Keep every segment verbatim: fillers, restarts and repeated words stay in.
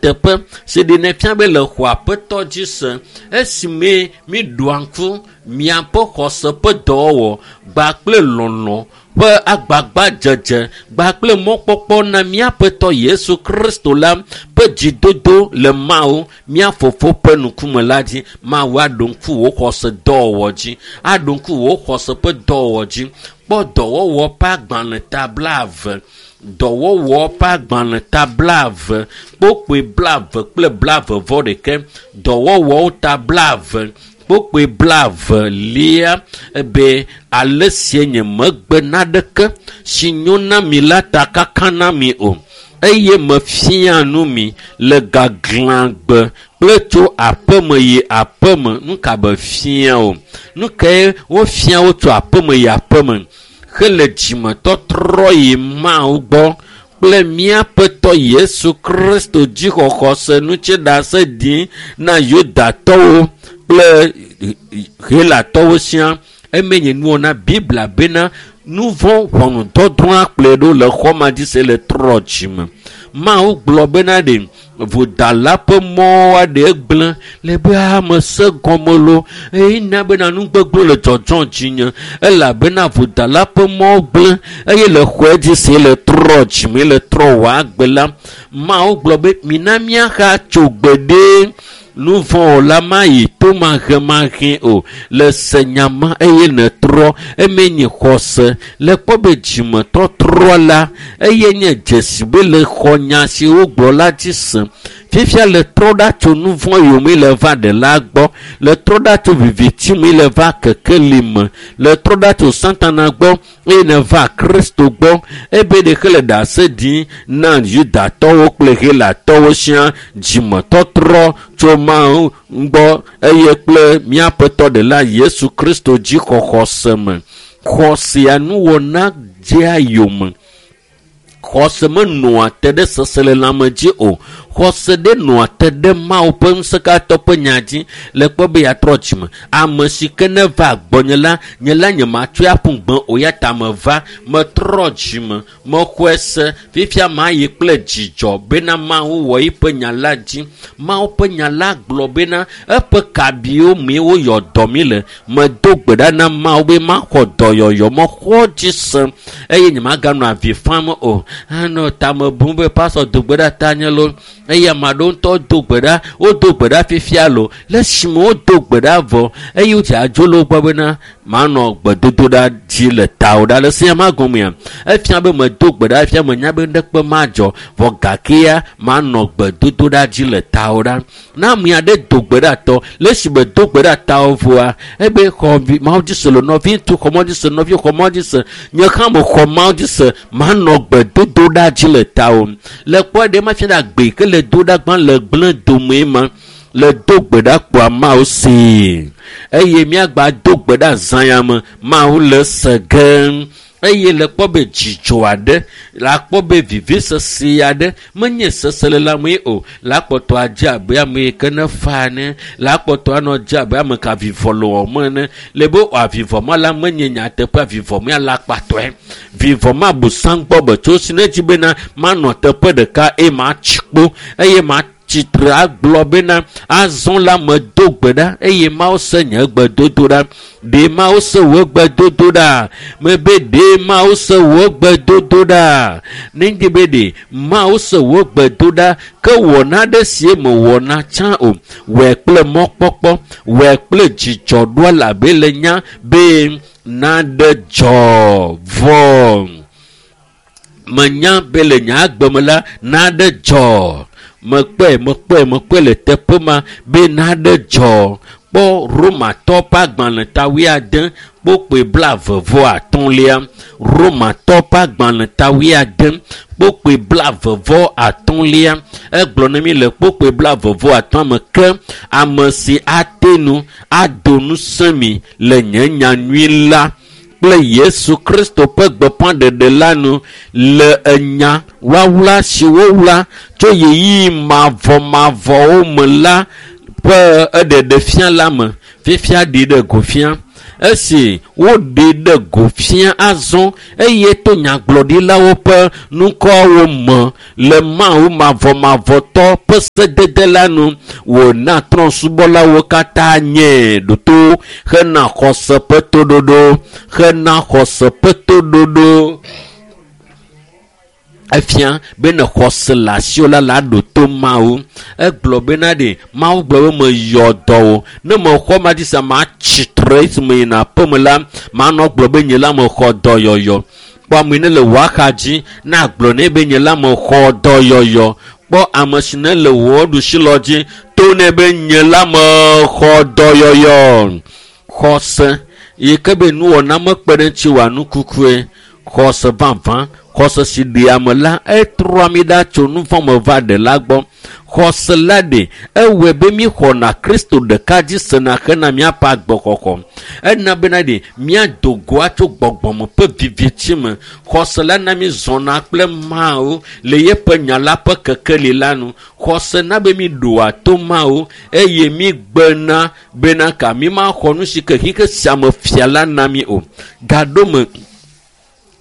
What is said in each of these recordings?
Teƒe si ɖenɛ fia be le xɔ aƒetɔ dzi se esime mi ɖoa ŋku miaƒe xɔse ƒe dɔwɔwɔ gba kple lɔlɔ ƒe agbagbadzedze gba kple mɔkpɔkpɔ na míaƒetɔ Yesu Kristo la ƒe dzidodo le Mawu mía fofo ƒe ŋkume la dzi. Mawu aɖo ŋku wò xɔse dɔwɔwɔ dzi, aɖo ŋku wò xɔse ƒe dɔwɔwɔ dzi. Kpɔ dɔwɔwɔ ƒe agbalẽ ta blaeve, dɔwɔwɔ ƒe agbalẽ ta blaeve, kpokpoe blaeve kple blaeve vɔ ɖeke, dɔwɔwɔwo ta blaeve, kpokpoe blaeve lia ebe ale sie nye megbe naɖeke si nyo na mi la ta kaka na mi o eye mefia nu mi le gaglãgbe kple tso aƒeme yi aƒeme. Nu ka be fia o? Nu kae wofia wo tso aƒeme yi aƒeme hele dzimetɔtrɔ yi Mawu gbɔ kple míaƒetɔ Yesu Kristo dzixɔxɔse ŋuti ɖase ɖim na Yudatɔwo kple Helatɔwo siaa. Eme nye nuwɔna Biblia bena nu vɔ̃ ʋɔnudɔdrɔ̃a kplɔe ɖo le xɔ ma dzi se le trɔ dzime. Mawu gblɔ bena ɖe vodala ƒe mɔ aɖe gblẽ le be ame se gɔme lo eye na bena nu gbegblẽ le dzɔdzɔ dzinye elabena vodala ƒe mɔ gblẽ eye le xɔe dzi se le trɔ dzime le trɔ wɔ agbe la. Mawu gblɔ be mina míaxa tso gbeɖe nu vɔ̃ la mayi to mahemahe o le se nyama eye netrɔ eme nye xɔse le kpɔ be dzimetɔtrɔ la eye nye dzesi be le xɔ nya si wogblɔ la dzi se. Fifia le trɔ ɖa tso nu vɔ̃ yome le va ɖela gbɔ, le trɔ ɖa tso viviti me le va kekeli me, le trɔ ɖa tso Satana gbɔ eye neva Kristo gbɔ. Ebe ɖeke le ɖase ɖim na Yudatɔwo kple Helatɔwo siaa dzimetɔtrɔ tso Mawu gbɔ eye kple míaƒetɔ ɖela Yesu Kristo dzixɔxɔse me. Xɔsea nuwɔna dzea yome. Xɔse menɔa te ɖe seselelãme dzi o. Xɔse ɖe nɔa te ɖe Mawu ƒe ŋusẽkatɔ ƒe nya dzi le kpɔ be yeatrɔ dzime. Ame si ke ne va gbɔnye la, nye la nye matsɔe aƒu gbe o ya ta meva, metrɔ dzime, mexɔe se. Fifia mayi kple dzidzɔ bena Mawu wɔ eƒe nya la dzi. Mawu ƒe nya la gblɔ bena eƒe kabiwo mee woyɔ dɔ mi le. Medo gbe ɖa na Mawu be maxɔ dɔyɔyɔ, mexɔ dzi se eye nyemaganɔ avi fam o. Anɔ tame bum be pastor do gbe ɖa ta nye lo eye ame aɖewo ŋutɔ do gbe ɖa, wodo gbe ɖa fifia lo le esime wodo gbe ɖa vɔ eye wodze adzo le wo gbɔ bena manɔ gbedodoɖa dzi le tawo ɖa le sia ma gɔmea. Efia be medo gbe ɖa fia menya be ŋɖekpe madzɔ vɔ gakea manɔ gbedodoɖa dzi le tawo ɖa. Na ame aɖe do gbe ɖa tɔ le esime do gbe ɖa tawo vɔa ebe xɔ vi Mawu dzi se le nɔvi ŋutsu xɔ Mawu dzi se nɔvi xɔ Mawu dzi se nye hã mexɔ Mawu dzi se manɔ gbedodoɖa dzi le tawo. Le kpɔ ɖe ma fia ɖe agbe ke le do ɖa gbã le gblẽ dome ma le do gbe ɖa kpoa Mawu see eye míagba do gbe ɖa zã ya me Mawu le se ge eye le kpɔ be dzidzɔ aɖe la kpɔ be vivisese aɖe menye seselelãme o la kpɔtɔ adze abe ame yi ke ne fa ene la kpɔtɔ anɔ dze abe ame ka vivɔ le wɔm ene le be avivɔ ma la menye nyateƒe avivɔ mea la kpatɔe vivɔ ma busam gbɔ be tso si ne dzi bena manɔ teƒe ɖeka eye matsi kpo eye ma tsitre agblɔ bena azɔ la medo gbe ɖa eye Mawu se nye gbedodoɖa. Ɖe Mawu se wò gbedodoɖa? Mebe ɖe Mawu se wò gbedodoɖa? Ne ŋdi be ɖe Mawu se wò gbedoɖa ke wɔna ɖe sie mewɔna tsã o. Wɔe kple mɔkpɔkpɔ, wɔe kple dzidzɔ ɖoa elabe le nya be naɖe dzɔ vɔ. Menya be le nye agbe me la naɖe dzɔ. Mekpɔe, mekpɔe, mekpɔe le teƒe ma be naɖe dzɔ. Kpɔ Romatɔ ƒe agbalẽ ta wuiade kpokpoe blaeve vɔ atɔ̃lia. Romatɔ ƒe agbalẽ ta wuiade kpokpoe blaeve vɔ atɔ̃lia. Egblɔ na mi le kpokpoe blaeve vɔ atɔ̃ me ke ame si ate nu ado ŋusẽ mi le nye nyanyui la kple Yesu Kristo ƒe gbeƒãɖeɖe la nu le enya wlawla si wowla tso ɣeyiɣi mavɔmavɔwo me la ƒe eɖeɖe fia la me. Fifia ɖi ɖe go fia. Esi woɖe ɖe go fia azɔ eye to nyagblɔɖilawo ƒe nukɔwo me le Mawu mavɔmavɔtɔ ƒe sedede la nu wòna trɔ̃subɔlawo katã nye ɖoto hena xɔse ƒe toɖoɖo hena xɔse ƒe toɖoɖo. Efia be ne xɔse le asiwò la la ɖo to Mawu. Egblɔ bena ɖe Mawu gblɔ be meyɔ dɔ wò. Ne mexɔ ma dzi sia matsi tre esime yina aƒeme la manɔ gblɔ be nye la mexɔ dɔyɔyɔ. Kpɔ ame yi ne le wò axa dzi na gblɔ nɛ be nye la mexɔ dɔyɔyɔ. Kpɔ ame si ne le wò ɖusilɔ dzi to nɛ be nye la mexɔ dɔyɔyɔ. Xɔse yi ke be nuwɔna mekpe ɖe ŋuti wòa nukukue. Xɔse vavã, xɔse si ɖea ame la etrɔa mi ɖa tso nu vɔ̃ me va ɖela gbɔ. Xɔse la ɖe ewɔe be míxɔna Kristo ɖeka dzi sena hena míaƒe agbexɔxɔ. Ena bena ɖe míado goa tso gbɔgbɔme ƒe viviti me. Xɔse la na mí zɔna kple Mawu le yeƒe nya la ƒe kekeli la nu. Xɔse na be míɖoa to Mawu eye mígbena bena ka mímaxɔ nu si ke xexe sia me fia la na mí o. Gaɖo me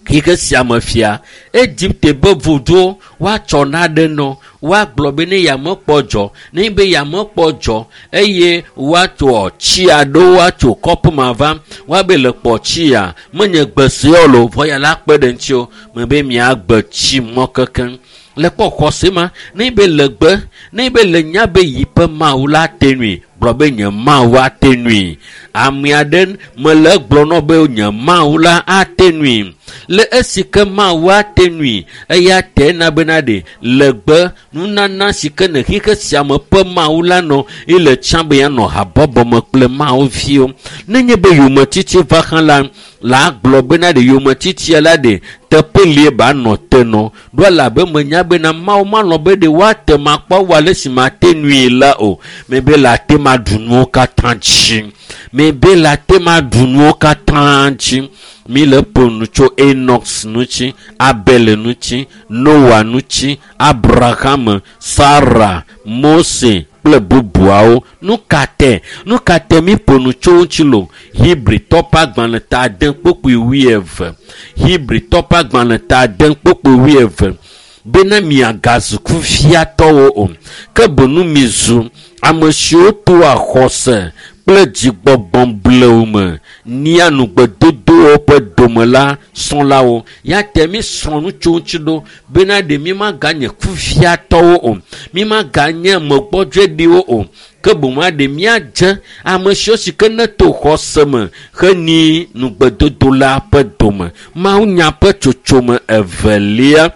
xexe sia me fia Egipte be vudo woatsɔ naɖe nɔ woagblɔ be ne yamekpɔ dzɔ ne be yamekpɔ dzɔ eye woatso tsi aɖewo woatso kɔpu ma va woabe le kpɔ tsia menye gbe siɔ lo vɔ ya la kpe ɖe ŋuti o me be miagbe tsi mɔ kekeŋ. Le kpɔ xɔse ma ne be le gbe ne be le nya be yi ƒe Mawu la te nui gblɔ be nye Mawu ate nui. Ame aɖe mele gblɔ nɔ be nye Mawu la ate nui. Le esi ke Mawu ate nui eya te na bena ɖe le gbe nunana si ke ne xexe sia me ƒe Mawu la nɔ ele tsã be yanɔ habɔbɔ me kple Mawu viwo. Nenye be yometiti va hã la la gblɔ bena ɖe yometitia la ɖe teƒe lie ba nɔ te nɔ ɖo elabe menya bena Mawu malɔ̃ be ɖe woate makpɔ wu ale si mate nui la o. Mebe la te maɖu nuwo katã dzi. Mebe la te maɖu nuwo katã dzi. Mi le ƒo nu tso Enoch ŋuti, Abel ŋuti, Noah ŋuti, Abraham, Sarah, Mose kple bubuawo. Nu ka te? Nu ka te mi ƒo nu tso ŋuti lo? Hebritɔ ƒe agbalẽ ta ade kpokpui wuieve. Hebritɔ ƒe agbalẽ ta ade kpokpui wuieve. Bena miagazu kuviatɔwo o, ke boŋ mizu ame siwo toa xɔse kple dzigbɔgbɔ blewu me nia nugbedodowo ƒe dome la srɔ̃lawo. Ya te mi srɔ̃ nu tso ŋuti ɖo bena ɖe mi maganye kuviatɔwo o, mi maganye megbɔdzɔeɖiwo o, ke boŋ aɖe míadze ame siwo si ke ne to xɔse me heni nugbedodo la ƒe dome. Mawunya ƒe tsotsome evelia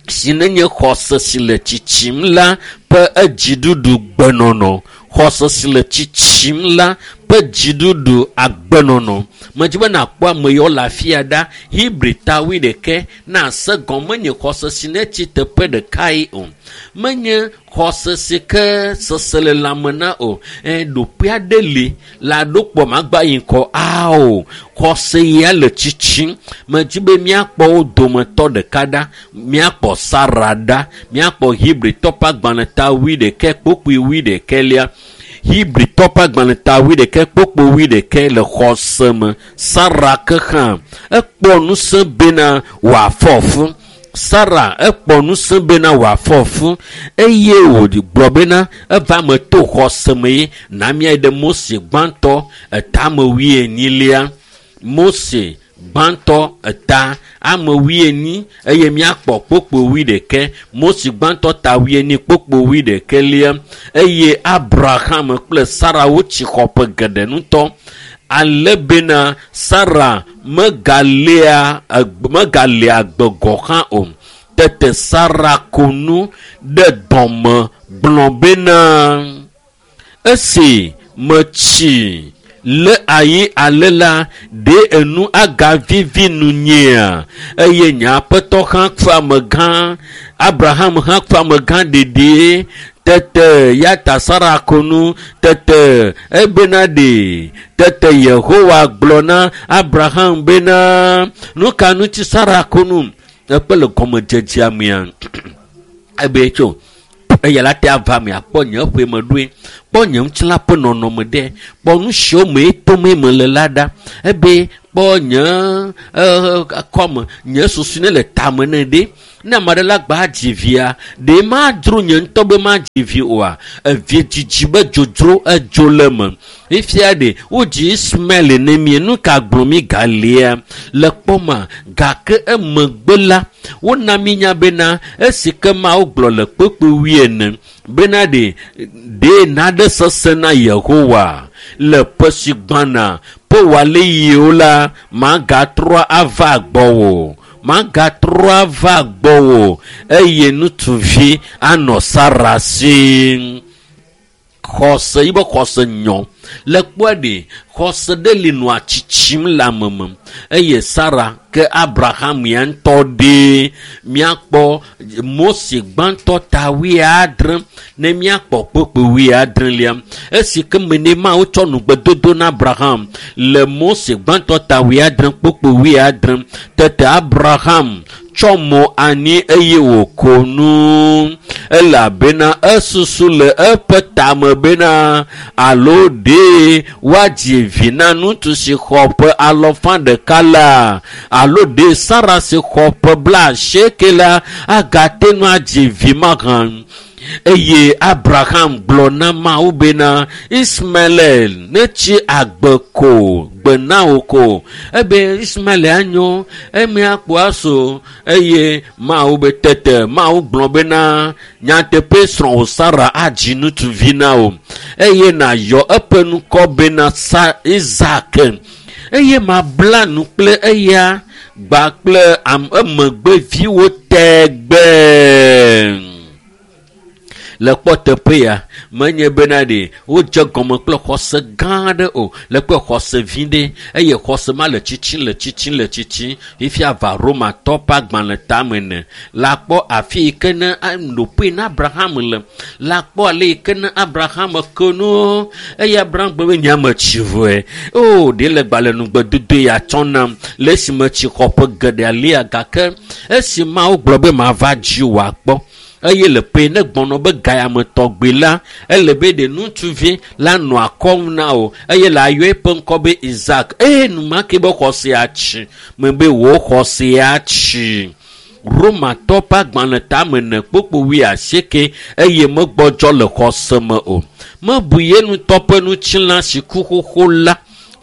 si nenye xɔse si le tsitsim la ƒe edziɖuɖu gbenɔnɔ. Xɔse si le tsitsim la ƒe dziɖuɖu agbenɔnɔ. Medzi be nakpɔ ame yiwo le afia ɖa. Hebri ta wuiɖekɛ na se gɔme menye xɔse si ne tsi teƒe ɖekae o. Menye xɔse si ke seselelãme na o. Ɛ, ɖoƒe aɖe li la ɖo kpɔ magba yi ŋkɔ ao. Xɔse ya le tsitsim. Medzi be míakpɔ wo dometɔ ɖeka ɖa. Míakpɔ Sara ɖa. Míakpɔ Hebritɔ ƒe agbalẽ ta wuiɖekɛ kpokpui wuiɖekɛlia. Hebritɔ ƒe agbalẽ ta wuiɖekɛ kpokpui wuiɖekɛ le xɔse me. Sara ke hã ekpɔ ŋusẽ bena wòafɔ fu. Sara ekpɔ ŋusẽ bena wòafɔ fu eye wògblɔ bena eva me to xɔse me ye na míayi ɖe Mose gbãtɔ etame wuienyilia. Mose gbãtɔ eta ame wuienyi eye míakpɔ kpokpo wuiɖekɛ. Mose gbãtɔ ta wuienyi kpokpo wuiɖekɛlia eye Abraham kple Sara wotsi xɔ ƒe geɖe ŋutɔ. Ale bena Sara megalea megalea agbe gɔ̃ hã o. Tete Sara ko nu ɖe dɔme gblɔ bena esi metsi le ayi ale la ɖe enu agavivi nunyea eye nye aƒetɔ hã ku amegã Abraham hã ku amegã ɖeɖe. Tete ya ta Sara ko nu tete ebena ɖe tete Yehowa gblɔ na Abraham bena nu ka ŋuti Sara ko nu ekpe le gɔmedzedzea mea ebe tso eya la te ava me akpɔ nye ƒe me ɖoe kpɔ nye ŋutilã ƒe nɔnɔme ɖe kpɔ Kpɔ nu siwo me tome me le la ɖa. Ebe kpɔ nye kɔme, nye susu ne le tame ne ɖe. Ne ame aɖe la gba dzi via, ɖe madzro nye ŋutɔ be madzi vi oa? Evi dzidzi be dzodzro edzo le eme. Fifia ɖe wodzi Ismael ne mie, nu ka gblɔ mi galia le kpɔma? Gake emegbe la, wona mi nya bena esi ke Mawu gblɔ le kpekpe wuiene bena ɖe ɖe naɖe sesẽ na Yehowa le ƒe si gbɔna ƒe wòale yiwo la, magatrɔ ava gbɔwò. Magatrɔ ava gbɔwò eye ŋutsuvi anɔ Sara si. Xɔse yi be xɔse nyɔ. Le kpɔe ɖe, xɔse ɖe li nɔa tsitsim le ame me. Eye Sara ke Abraham ya ŋutɔ ɖe. Míakpɔ Mose gbãtɔ ta wuiadre ne míakpɔ kpekpe wuiadrelia. Esi ke me ne Mawu tsɔ nugbedodo na Abraham le Mose gbãtɔ ta wuiadre kpekpe wuiadre. Tete Abraham tsɔ mo anyi eye wòko nu elabena esusu le eƒe tame bena alo ɖe woadzi vi na ŋutsu si xɔ ƒe alɔfa ɖeka la alo ɖe Sara si xɔ ƒe blaasieke la agate ŋu adzi vi mahã. Eye Abraham gblɔ na Mawu bena Ismael netsi agbe ko gbe na wò ko. Ebe Ismael anyo eme akpɔ aso. Eye Mawu be tete Mawu gblɔ bena nyateƒe srɔ̃wò Sara adzi ŋutsuvi na wò eye nàyɔ eƒe ŋkɔ bena Sa Isak eye mabla nu kple eya gba kple emegbeviwo tegbee. Le kpɔ teƒe ya, menye bena ɖe wodze gɔme kple xɔse gã aɖe o, le kple xɔse vi ɖe, eye xɔse ma le tsitsim, le tsitsim, le tsitsim. Fifia va Romatɔ ƒe agbalẽ tame ne. La kpɔ afi yi ke ne ɖoƒe na Abraham le. La kpɔ ale yi ke ne Abraham ke nu. Eye Abraham gblɔ be nye metsi vɔe. O, ɖe le gbalẽ nugbedodo ya tsɔ nam le esime tsi xɔ ƒe geɖe alia gake esi Mawu gblɔ be mava dzi wòakpɔ. Eye le ƒe ne gbɔnɔ be gayame tɔgbi la, ele be ɖe ŋutsuvi la nɔ akɔm na wò eye le ayɔ eƒe ŋkɔ be Isak. Eye enumake be xɔse atsi me be wò xɔse atsi. Romatɔ ƒe agbalẽ tame ne kpokpo wuiasieke eye megbɔdzɔ le xɔse me o. Mebu ye ŋutɔ ƒe ŋutilã si ku xoxo la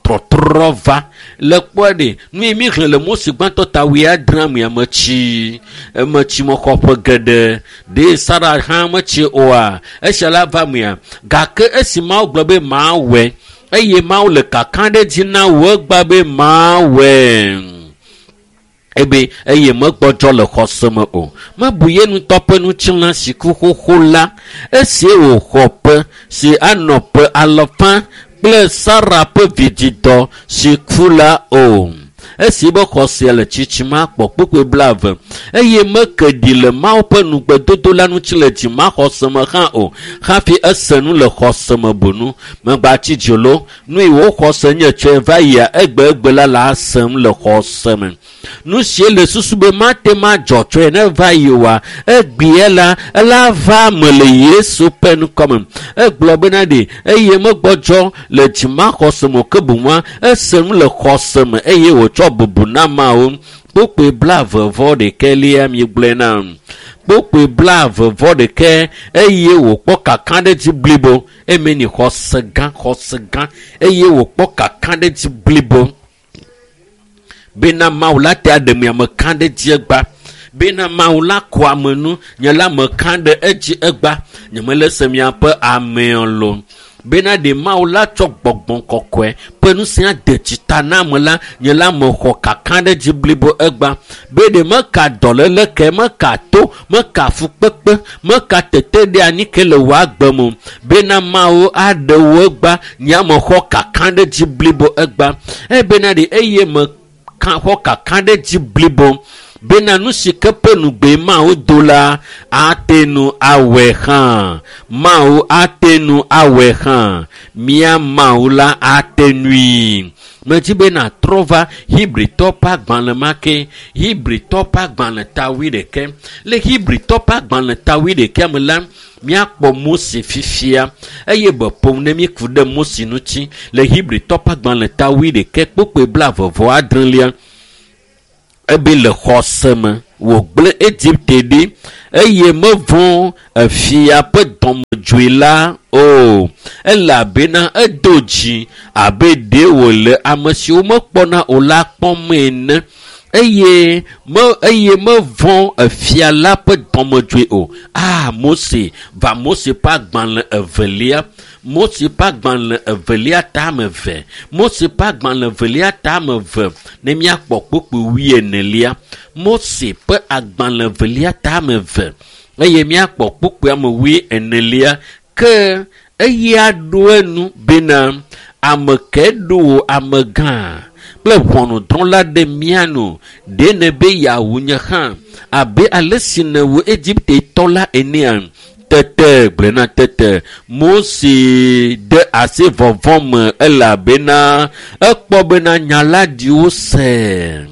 trɔtrɔ va. Le kpɔe ɖe, nu yi mi xlẽ le Mose gbãtɔ ta wuiadre mea metsi. Emetsi mexɔ ƒe geɖe. Ɖe Sara hã metsi oa? Esia la va mea. Gake esi Mawu gblɔ be mawɔe, eye Mawu le kaka ɖe dzi na wò egba be mawɔe. Ebe eye megbɔdzɔ le xɔse me o. Mebu ye ŋutɔ ƒe ŋutilã si ku xoxo la, esi wòxɔ ƒe si anɔ ƒe alafa kple Sara ƒe vidzidɔ si ku la o. Esi be xɔse le tsitsim akpɔ kpukpui blaeve eye meke ɖi le Mawu ƒe nugbedodo la ŋuti le dzimaxɔse me hã o hafi ese nu le xɔse me bonu. Megbatsi dzi lo, nu yi wò xɔse nye tsɔe va yia egbe egbe la le asem le xɔse me. Nu si le susu be mate madzɔ tsɔe ne va yi oa, egbea la ela va me le Yesu ƒe ŋkɔme. Egblɔ bena ɖe eye megbɔdzɔ le dzimaxɔse me o, ke boŋua ese nu le xɔse me eye wòtsɔ bubu na Mawu. Kpukpui blaeve vɔ ɖekɛ lia mi gblɔe nam. Kpukpui blaeve vɔ ɖekɛ eye wòkpɔ kakaɖedzi blibo. Eme ni xɔse gã, xɔse gã eye wòkpɔ kakaɖedzi blibo. Bena Mawu la te aɖe mi ame ka ɖe dzi egba. Bena Mawu la kɔ ame nu, nye la ame ka ɖe edzi egba. Nye mele se miaƒe amewo lo. Bena ɖe Mawu la tsɔ gbɔgbɔ kɔkɔe ƒe ŋusẽ ade dzita na ame la, nye la mexɔ kakaɖedzi blibo egba. Be ɖe meka dɔléle ke, meka to, meka fukpekpe, meka tete ɖe anyi ke le wò agbe me o. Bena Mawu aɖe wò egba, nye mexɔ kakaɖedzi blibo egba. Ebena ɖe eye meka xɔ kakaɖedzi blibo. Bena nu si ke ƒe nugbe Mawu do la, ate ŋu awɔe hã. Mawu ate ŋu awɔe hã. Mía Mawu la ate ŋui. Medzi be natrɔ va Hebritɔ ƒe agbalẽ ma ke. Hebritɔ ƒe agbalẽ ta wuiɖekɛ. Le Hebritɔ ƒe agbalẽ ta wuiɖekɛa me la, míakpɔ Mose fifia eye be ƒom ne míku ɖe Mose ŋuti le Hebritɔ ƒe agbalẽ ta wuiɖekɛ kpokpoe blaeve vɔ adrelia. Ebe le xɔse me wògblẽ Egipte ɖi eye mevɔ̃ efia ƒe dɔmedzoe la o, elabena edo dzi abe ɖe wòle ame siwo mekpɔna o la kpɔm ene eye me eye mevɔ̃ efia la ƒe dɔmedzoe o. Ah, Mose va Mose ƒe agbalẽ evelia. Mose ƒe agbalẽ evelia tame eve. Mose ƒe agbalẽ evelia tame eve ne míakpɔ kpukpui wuienelia. Mose ƒe agbalẽ evelia tame eve eye míakpɔ kpukpui ame wuienelia. Ke eya ɖo enu bena ame ke ɖo wò amegã kple ʋɔnudrɔ̃la ɖe mía nu ɖe nebe yeawu nye hã abe ale si nèwu Egiptetɔ la enea. Tete gblɔna tete Mose de asi vɔvɔ̃ me elabena ekpɔ bena nya la ɖi wose.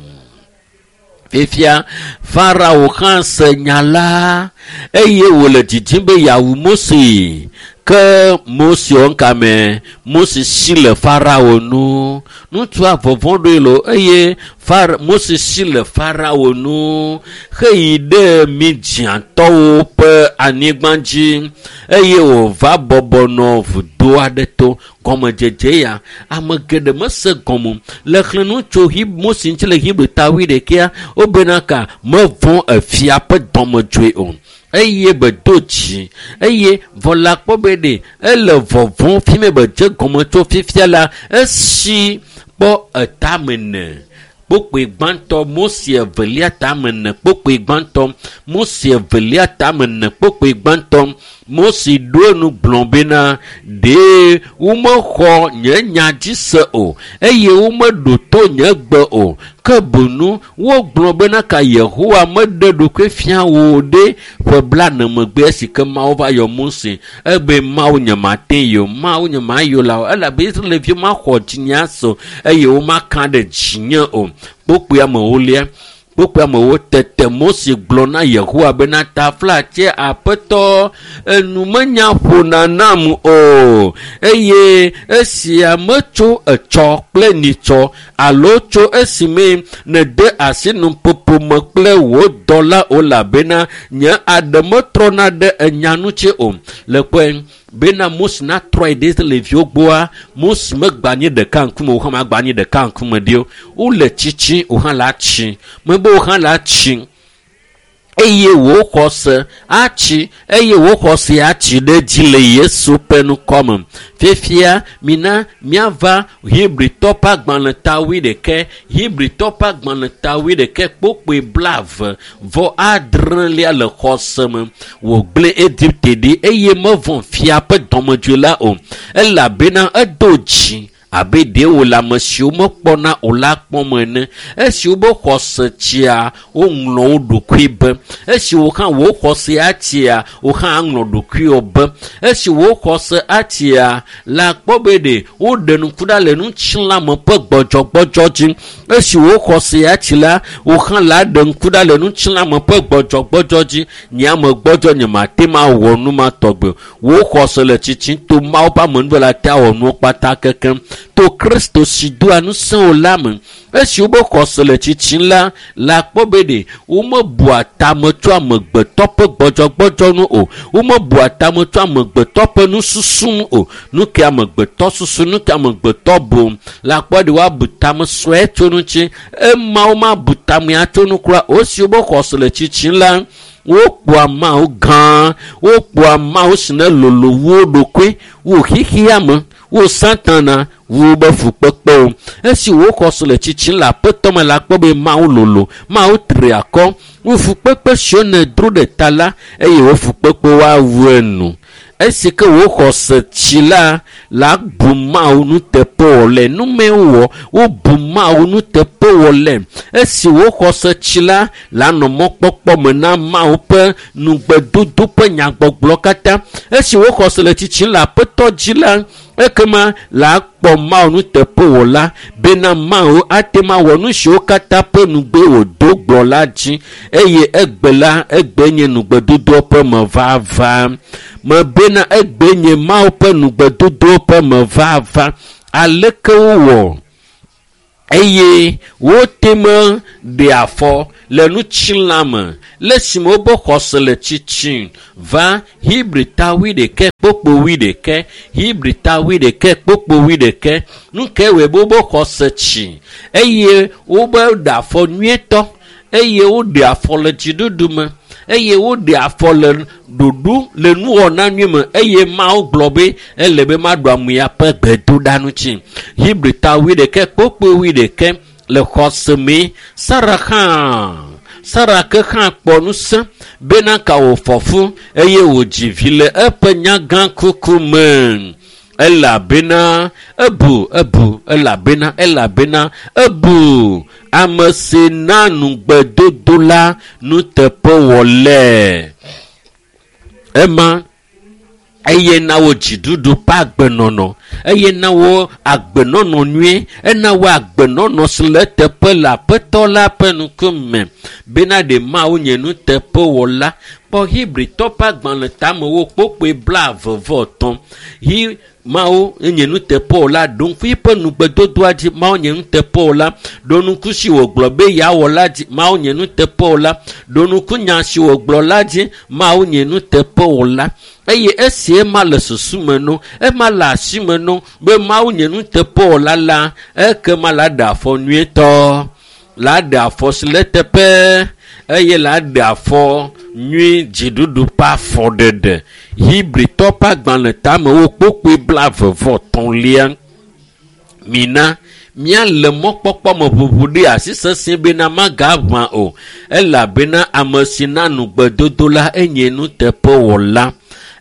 Fifia Farao hã se nya la eye wòle didim be yeawu Mose. Ke Mose wɔ ŋkame Mose si le Farao nu. Ŋutsua vɔvɔ̃ ɖoe lo eye Far Mose si le Farao nu heyi ɖe Midiantɔwo ƒe anyigba dzi eye wòva bɔbɔ nɔ vudo aɖe to. Gɔmedzedze ya ame geɖe mese gɔme le xlẽ nu tso Mose ŋuti le Hebri ta wuiɖekɛa wobena ka mevɔ̃ efia ƒe dɔmedzoe o eye be do dzi eye vɔ la kpɔ be ɖe ele vɔvɔ̃ fi me be dze gɔme tso fifia la esi kpɔ etame ne kpokpoe gbãtɔ Mose evelia tame ne kpokpoe gbãtɔ Mose evelia tame ne kpokpoe gbãtɔ Mose ɖo enu gblɔ bena ɖe womexɔ nye nya dzi se o eye womeɖo to nye gbe o ke boŋ wogblɔ bena ka Yehowa meɖe ɖokui fia wò ɖe ƒe blaene megbe esi ke Mawu va yɔ Mose ebe Mawu nye mate yi o Mawu nye mayɔ la o elabe Israelviwo maxɔ dzinye ase o eye womaka ɖe dzinye o. Kpokpoe amewolia kpokpoe amewo tete Mose gblɔ na Yehowa bena taflatse aƒetɔ enu menya ƒona nam o eye esia metso etsɔ kple nitsɔ alo tso esime nède asi nuƒoƒo me kple wò dɔla o elabena nye aɖe metrɔna ɖe enya ŋuti o. Le kpɔe bena Mose natrɔ yi ɖe Israelviwo gbɔa Mose megba nyi ɖeka ŋkume o hã magba nyi ɖeka ŋkume ɖi o. Wole tsitsi o hã la tsi mebe o hã la tsi eye wò xɔse atsi eye wò xɔse atsi ɖe dzi le Yesu ƒe ŋkɔme. Fifia mina míava Hebritɔ ƒe agbalẽ ta wuiɖekɛ Hebritɔ ƒe agbalẽ ta wuiɖekɛ kpokpoe blaeve vɔ adrelia le xɔse me wògblẽ Egipte ɖi eye mevɔ̃ fia ƒe dɔmedzoe la o elabena edo dzi abe ɖe wòle ame siwo mekpɔna o la kpɔm ene. Esi wobe xɔse tsia woŋlɔ wo ɖokui be esi wo hã wò xɔse atsia wo hã aŋlɔ ɖokuiwò be esi wò xɔse atsia la kpɔ be ɖe woɖe ŋku ɖa le ŋutilãme ƒe gbɔdzɔgbɔdzɔ dzi. Esi wò xɔse atsi la wo hã la ɖe ŋku ɖa le ŋutilãme ƒe gbɔdzɔgbɔdzɔ dzi. Nye ame gbɔdzɔ nye mate ma wɔ nu ma tɔgbe o. Wò xɔse le tsitsim to Mawu ƒe amenuveve te awɔ nuwo kpata kekem to Kristo si doa ŋusẽ wò la me. Esi wobe xɔse le tsitsim la la kpɔ be ɖe womebua tame tso amegbetɔ ƒe gbɔdzɔgbɔdzɔ nu o womebua tame tso amegbetɔ ƒe nususu nu o. Nu ke amegbetɔ susu nu ke amegbetɔ bu la kpɔ ɖe woabu tame sue tso ŋuti ema womabu tamea tso nu kura o. Esi wobe xɔse le tsitsim la wokpɔa Mawu gã wokpɔa Mawu si ne lolo wu wo ɖokui wu xexea me wu Satana wu be fukpekpewo. Esi wò xɔse le tsitsim le aƒetɔ me la kpɔ be Mawu lolo Mawu tri akɔ wu fukpekpe siwo nèdro ɖe ta la eye wò fukpekpewo awu enu. Esi ke wò xɔse tsi la la bu Mawu nuteƒewɔlae nume wɔ wobu Mawu nuteƒewɔlae. Esi wò xɔse tsi la la nɔ mɔkpɔkpɔ me na Mawu ƒe nugbedodo ƒe nyagbɔgblɔ katã. Esi wò xɔse le tsitsim le aƒetɔ dzi la Ekema la kpɔ Mawu nuteƒewɔla bena Mawu ate ŋu awɔ nu siwo katã ƒe nugbe wòdo gblɔ la dzi eye egbe la egbe nye nugbedodoa ƒe mevava. Mebena egbe nye Mawu ƒe nugbedodoa ƒe mevava. Aleke wowɔ eye wote me ɖe afɔ le ŋutilã me le esime wobe xɔse le tsitsim va Hebrita wuiɖekɛ kpokpo wuiɖekɛ Hebrita wuiɖekɛ kpokpo wuiɖekɛ. Nu ke wɔe be wobe xɔse tsi eye wobe ɖe afɔ nyuietɔ eye woɖe afɔ le dziɖuɖu me eye woɖe afɔ le ɖoɖo le nuwɔna nyui me eye Mawu gblɔ be ele be maɖu amea ƒe gbedoɖa ŋuti. Hebrita wuiɖekɛ kpokpo wuiɖekɛ le xɔse me. Sara hã Sara ke hã kpɔ ŋusẽ bena ka wòfɔ fu eye wòdzi vi le eƒe nyagã kuku me. Elabena ebu ebu elabena elabena ebu ame si na nugbedodo la nuteƒewɔlae. Ema eye na wo dziɖuɖu ƒe agbenɔnɔ eye na wo agbenɔnɔ nyuie ena wo agbenɔnɔ si le eteƒe le Aƒetɔ la ƒe ŋkume bena ɖe Mawu nye nuteƒewɔla. Kpɔ Hebritɔ ƒe agbalẽ tamewo kpokpoe blaeve vɔ etɔ̃. Hi Mawu nye nuteƒewɔla ɖo ŋku eƒe nugbedodoa dzi. Mawu nye nuteƒewɔla ɖo ŋku si wògblɔ be yeawɔ la dzi. Mawu nye nuteƒewɔla ɖo ŋku nya si wògblɔ la dzi. Mawu nye nuteƒewɔla eye esi ema le susu me no, ema le asi me no be Mawu nye nuteƒewɔla la, ekema la ɖe afɔ nyuietɔ, la ɖe afɔ si le eteƒe eye la ɖe afɔ nyui dziɖuɖu ƒe afɔɖeɖe. Hebritɔ ƒe agbalẽ tamewo kpokpoe blaeve vɔ etɔ̃lia. Mina míale mɔkpɔkpɔ me ʋuʋu ɖe asi sesẽ bena magaʋã o elabena ame si na nugbedodo la enye nuteƒewɔla.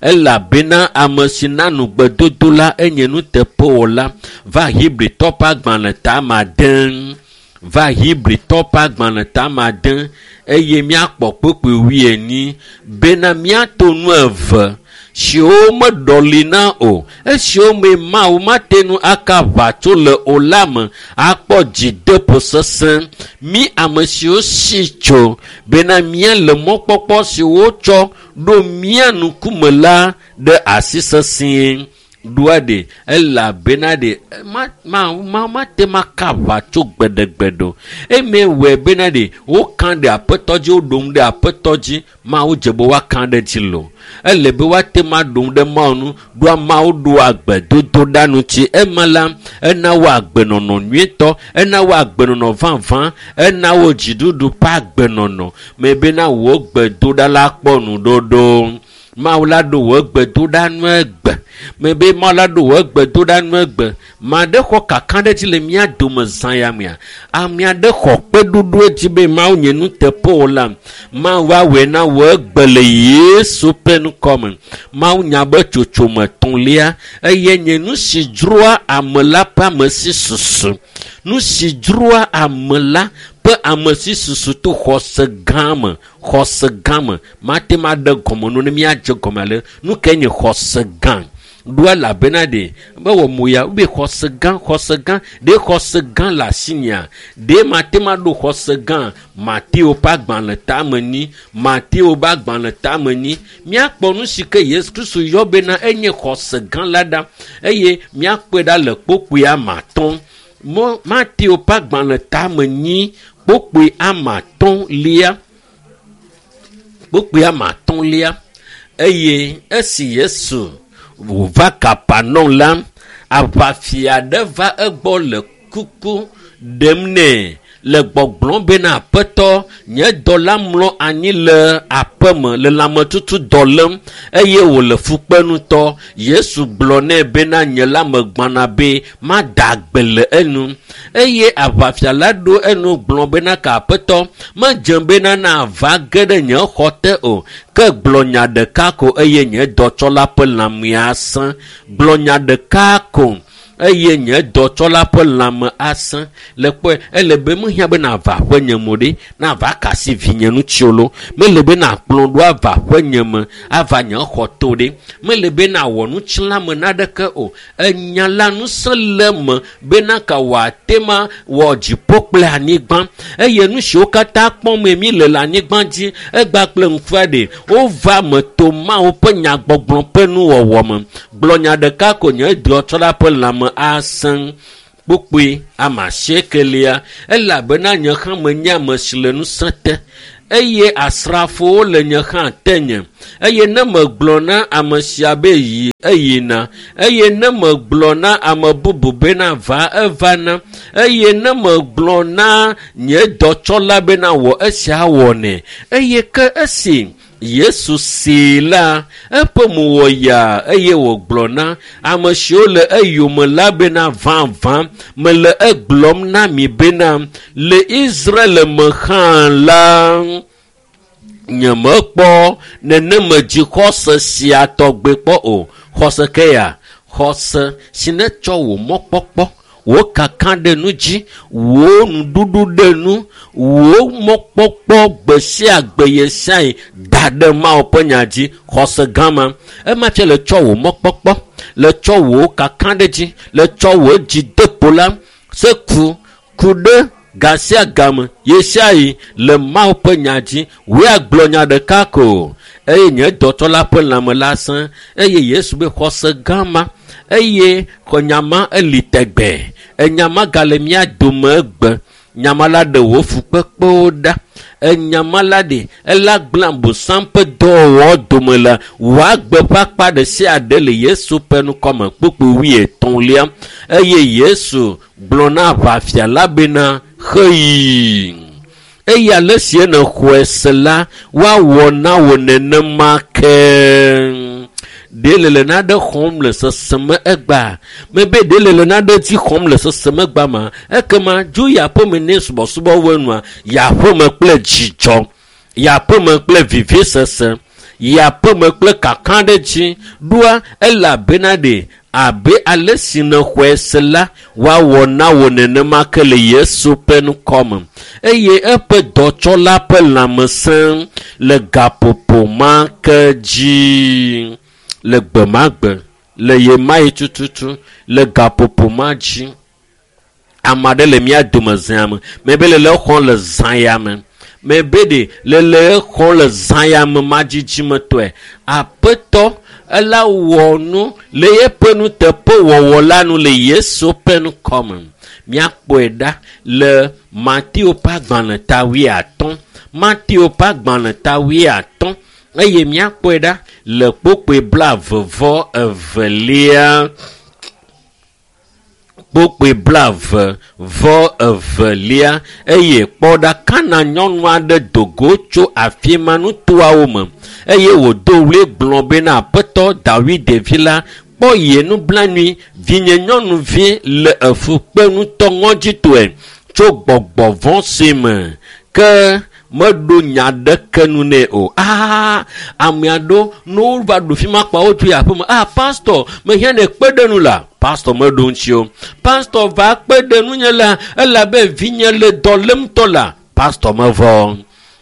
Elabena ame si na nugbedodo la enye nuteƒewɔla. Va Hebritɔ ƒe agbalẽ tame ade. Va Hebritɔ ƒe agbalẽ tame ade eye míakpɔ kpokpoe wuienyi bena míato nu eve siwo meɖɔli na o esiwo me Mawu mate ŋu aka aʋatso le o la me akpɔ dzideƒo sesẽ. Mí ame siwo si tso bena míale mɔkpɔkpɔ si wotsɔ ɖo mía ŋkume la ɖe asi sesĩe. Ɖoa ɖe elabena ɖe ma ma ma mate ŋu aka aʋatso gbeɖegbeɖe o. Eme wɔe bena ɖe woka ɖe Aƒetɔ dzi woɖo ŋu ɖe Aƒetɔ dzi. Mawu dze be woaka ɖe dzi lo. Ele be woate ŋu aɖo ŋu ɖe Mawu ŋu. Ɖoa Mawu ɖoa gbedodoɖa ŋuti. Ema la ena wo agbenɔnɔ nyuietɔ, ena wo agbenɔnɔ vavã, ena wo dziɖuɖu ƒe agbenɔnɔ. Me bena wò gbedoɖa la kpɔ nuɖoɖo. Mawu la ɖo wò gbedoɖa nu egbe. Me be Mawu la ɖo wò gbedoɖa nu egbe. Ma ɖe xɔ kakaɖedzi le mía dome zã ya mea. Ame aɖe xɔ kpeɖoɖo dzi be Mawu nye nuteƒewɔla. Mawu awɔe na wò egbe le Yesu ƒe ŋkɔme. Mawu nya be tsotsome etɔ̃lia eye nye nu si dzroa ame la ƒe ame si susu. Nu si dzroa ame la ƒe ame si susu to xɔse gã me. Xɔse gã me. Mate ŋu aɖe gɔme nu ne míadze gɔme ale. Nu kae nye xɔse gã? Ɖo elabena ɖe mewɔ mo ya wobe xɔse gã, xɔse gã. Ɖe xɔse gã le asinyea? Ɖe mate ŋu aɖo xɔse gã? Mateo ƒe agbalẽ tame nyi. Mateo ƒe agbalẽ tame nyi. Míakpɔ nu si ke Yesu Kristo yɔ bena enye xɔse gã la ɖa eye míakpɔe ɖa le kpokpoe ame atɔ̃. Mɔ Mateo ƒe agbalẽ tame nyi kpokpoe ame atɔ̃lia. Kpokpoe ame atɔ̃lia eye esi Yesu wòva Kapernaum la, aʋafia aɖe va egbɔ le kuku ɖem nɛ le gbɔgblɔm bena Aƒetɔ, nye dɔla mlɔ anyi le aƒeme le lãmetutu dɔ lém eye wòle fukpe ŋutɔ. Yesu gblɔ nɛ bena nye la megbana be mada agbe le enu. Eye aʋafia la ɖo enu gblɔ bena ka Aƒetɔ, medze bena nava ge ɖe nye xɔ te o ke gblɔ nya ɖeka ko eye nye dɔtsɔla ƒe lãmea sẽ. Gblɔ nya ɖeka ko eye nye dɔtsɔla ƒe lãme asẽ. Le kpɔe, ele be mehiã be nava ƒe nye mo ɖe, nava kasi vinye ŋuti lo. Mele be nakplɔ ɖo ava ƒe nye me, ava nye xɔ to ɖe. Mele be nawɔ nutsilãme naɖeke o. Enya la ŋusẽ le me bena ka wòate ma wɔ dziƒo kple anyigba. Eye nu siwo katã kpɔm mi le le anyigba dzi, egba kple ŋkua ɖe, wova me to Mawu ƒe nyagbɔgblɔ ƒe nuwɔwɔ me. Gblɔ nya ɖeka ko nye dɔtsɔla ƒe lãme asẽ. Kpukpui ame asiekelia, elabena nye hã menye ame si le ŋusẽ te, eye asrafowo le nye hã tenye. Eye ne megblɔ na ame sia be yi, eyina. Eye ne megblɔ na ame bubu bena va, evana. Eye ne megblɔ na nye dɔtsɔla bena wɔ esia wɔnɛ. Eye ke esi Yesu see la, eƒe mo wɔ yaa eye wògblɔ na ame siwo le eyome la bena vavã mele egblɔm na mi bena le Israel me hã la, nyemekpɔ neneme dzixɔse sia tɔgbe kpɔ o. Xɔse ke ya, xɔse si ne tsɔ wò mɔkpɔkpɔ, wò kaka ɖe nu dzi, wò nuɖuɖu ɖe nu, wò mɔkpɔkpɔ gbe sia gbe ɣe sia ɣi da ɖe Mawu ƒe nya dzi. Xɔse gã ma, ema tse le tsɔ wò mɔkpɔkpɔ, le tsɔ wò kaka ɖe dzi, le tsɔ wò dzideƒo la se ku, ku ɖe ga sia game ɣe sia ɣi le Mawu ƒe nya dzi. Wòe agblɔ nya ɖeka ko eye nye dɔtsɔla ƒe lãme la sẽ. Eye Yesu be xɔse gã ma, eye xɔ ma eli tɛgbɛ. Enya ma gale mía dome egbe. Nyama la ɖe wò fukpekpewo ɖa. Enyama la ɖe, ela gblẽ Abosam ƒe dɔwɔwɔ dome le wò agbe ƒe akpa ɖe sia ɖe le Yesu ƒe ŋkɔme. Kpukpui wuietɔ̃lia. Eye Yesu gblɔ na aʋafia la bena, xeyi. Eye ale si nèxɔe se la, woawɔ na wò nenema ke. Ɖe le naɖe xɔm le seseme egbea? Mebe ɖe le naɖe dzi xɔm le seseme egbea ma? Ekema dzo yi aƒeme ne subɔsubɔ wɔe nua, yi aƒeme kple dzidzɔ, yi aƒeme kple vivisese, yi aƒeme kple kakaɖedzi. Ɖoa elabena ɖe abe ale si nèxɔe se la, woawɔ na wò nenema ke le Yesu ƒe ŋkɔme. Eye eƒe dɔtsɔla ƒe lãmesẽ le gaƒoƒo ma ke dzi. Le gbe ma gbe, le ɣe ma ɣi tututu, le gaƒoƒo ma dzi. Ame aɖe le mía dome zã me. Mebe le le xɔm le zã ya me. Mebe ɖe le le xɔm le zã ya me madzidzimetɔe. Aƒetɔ ela wɔ nu le eƒe nuteƒewɔwɔ la nu le Yesu ƒe ŋkɔme. Míakpɔe ɖa le Mateo ƒe agbalẽ ta wuiatɔ̃. Mateo ƒe agbalẽ ta wuiatɔ̃. Eye míakpɔe ɖa le kpukpui blaeve vɔ evelia. Kpukpui blaeve vɔ evelia. Eye kpɔ ɖa, Kana nyɔnu aɖe do go tso afi ma nutoawo me eye wòdo ɣli gblɔ bena, Aƒetɔ Dawid vi la, kpɔ ye nublanui, vinye nyɔnuvi le efu kpem ŋutɔ ŋɔdzitɔe tso gbɔgbɔ vɔ̃ si me. Ke meɖo nya ɖeke nu nɛ o. Aa, ame aɖewo ne wova ɖo fi ma kpa wotso yi aƒeme. Ah, pastor, mehiã ne kpe ɖe nu la. Pastor meɖo ŋuti o. Pastor va kpe ɖe nunye la, elabe vinye le dɔ lém ŋutɔ la. Pastor mevɔ.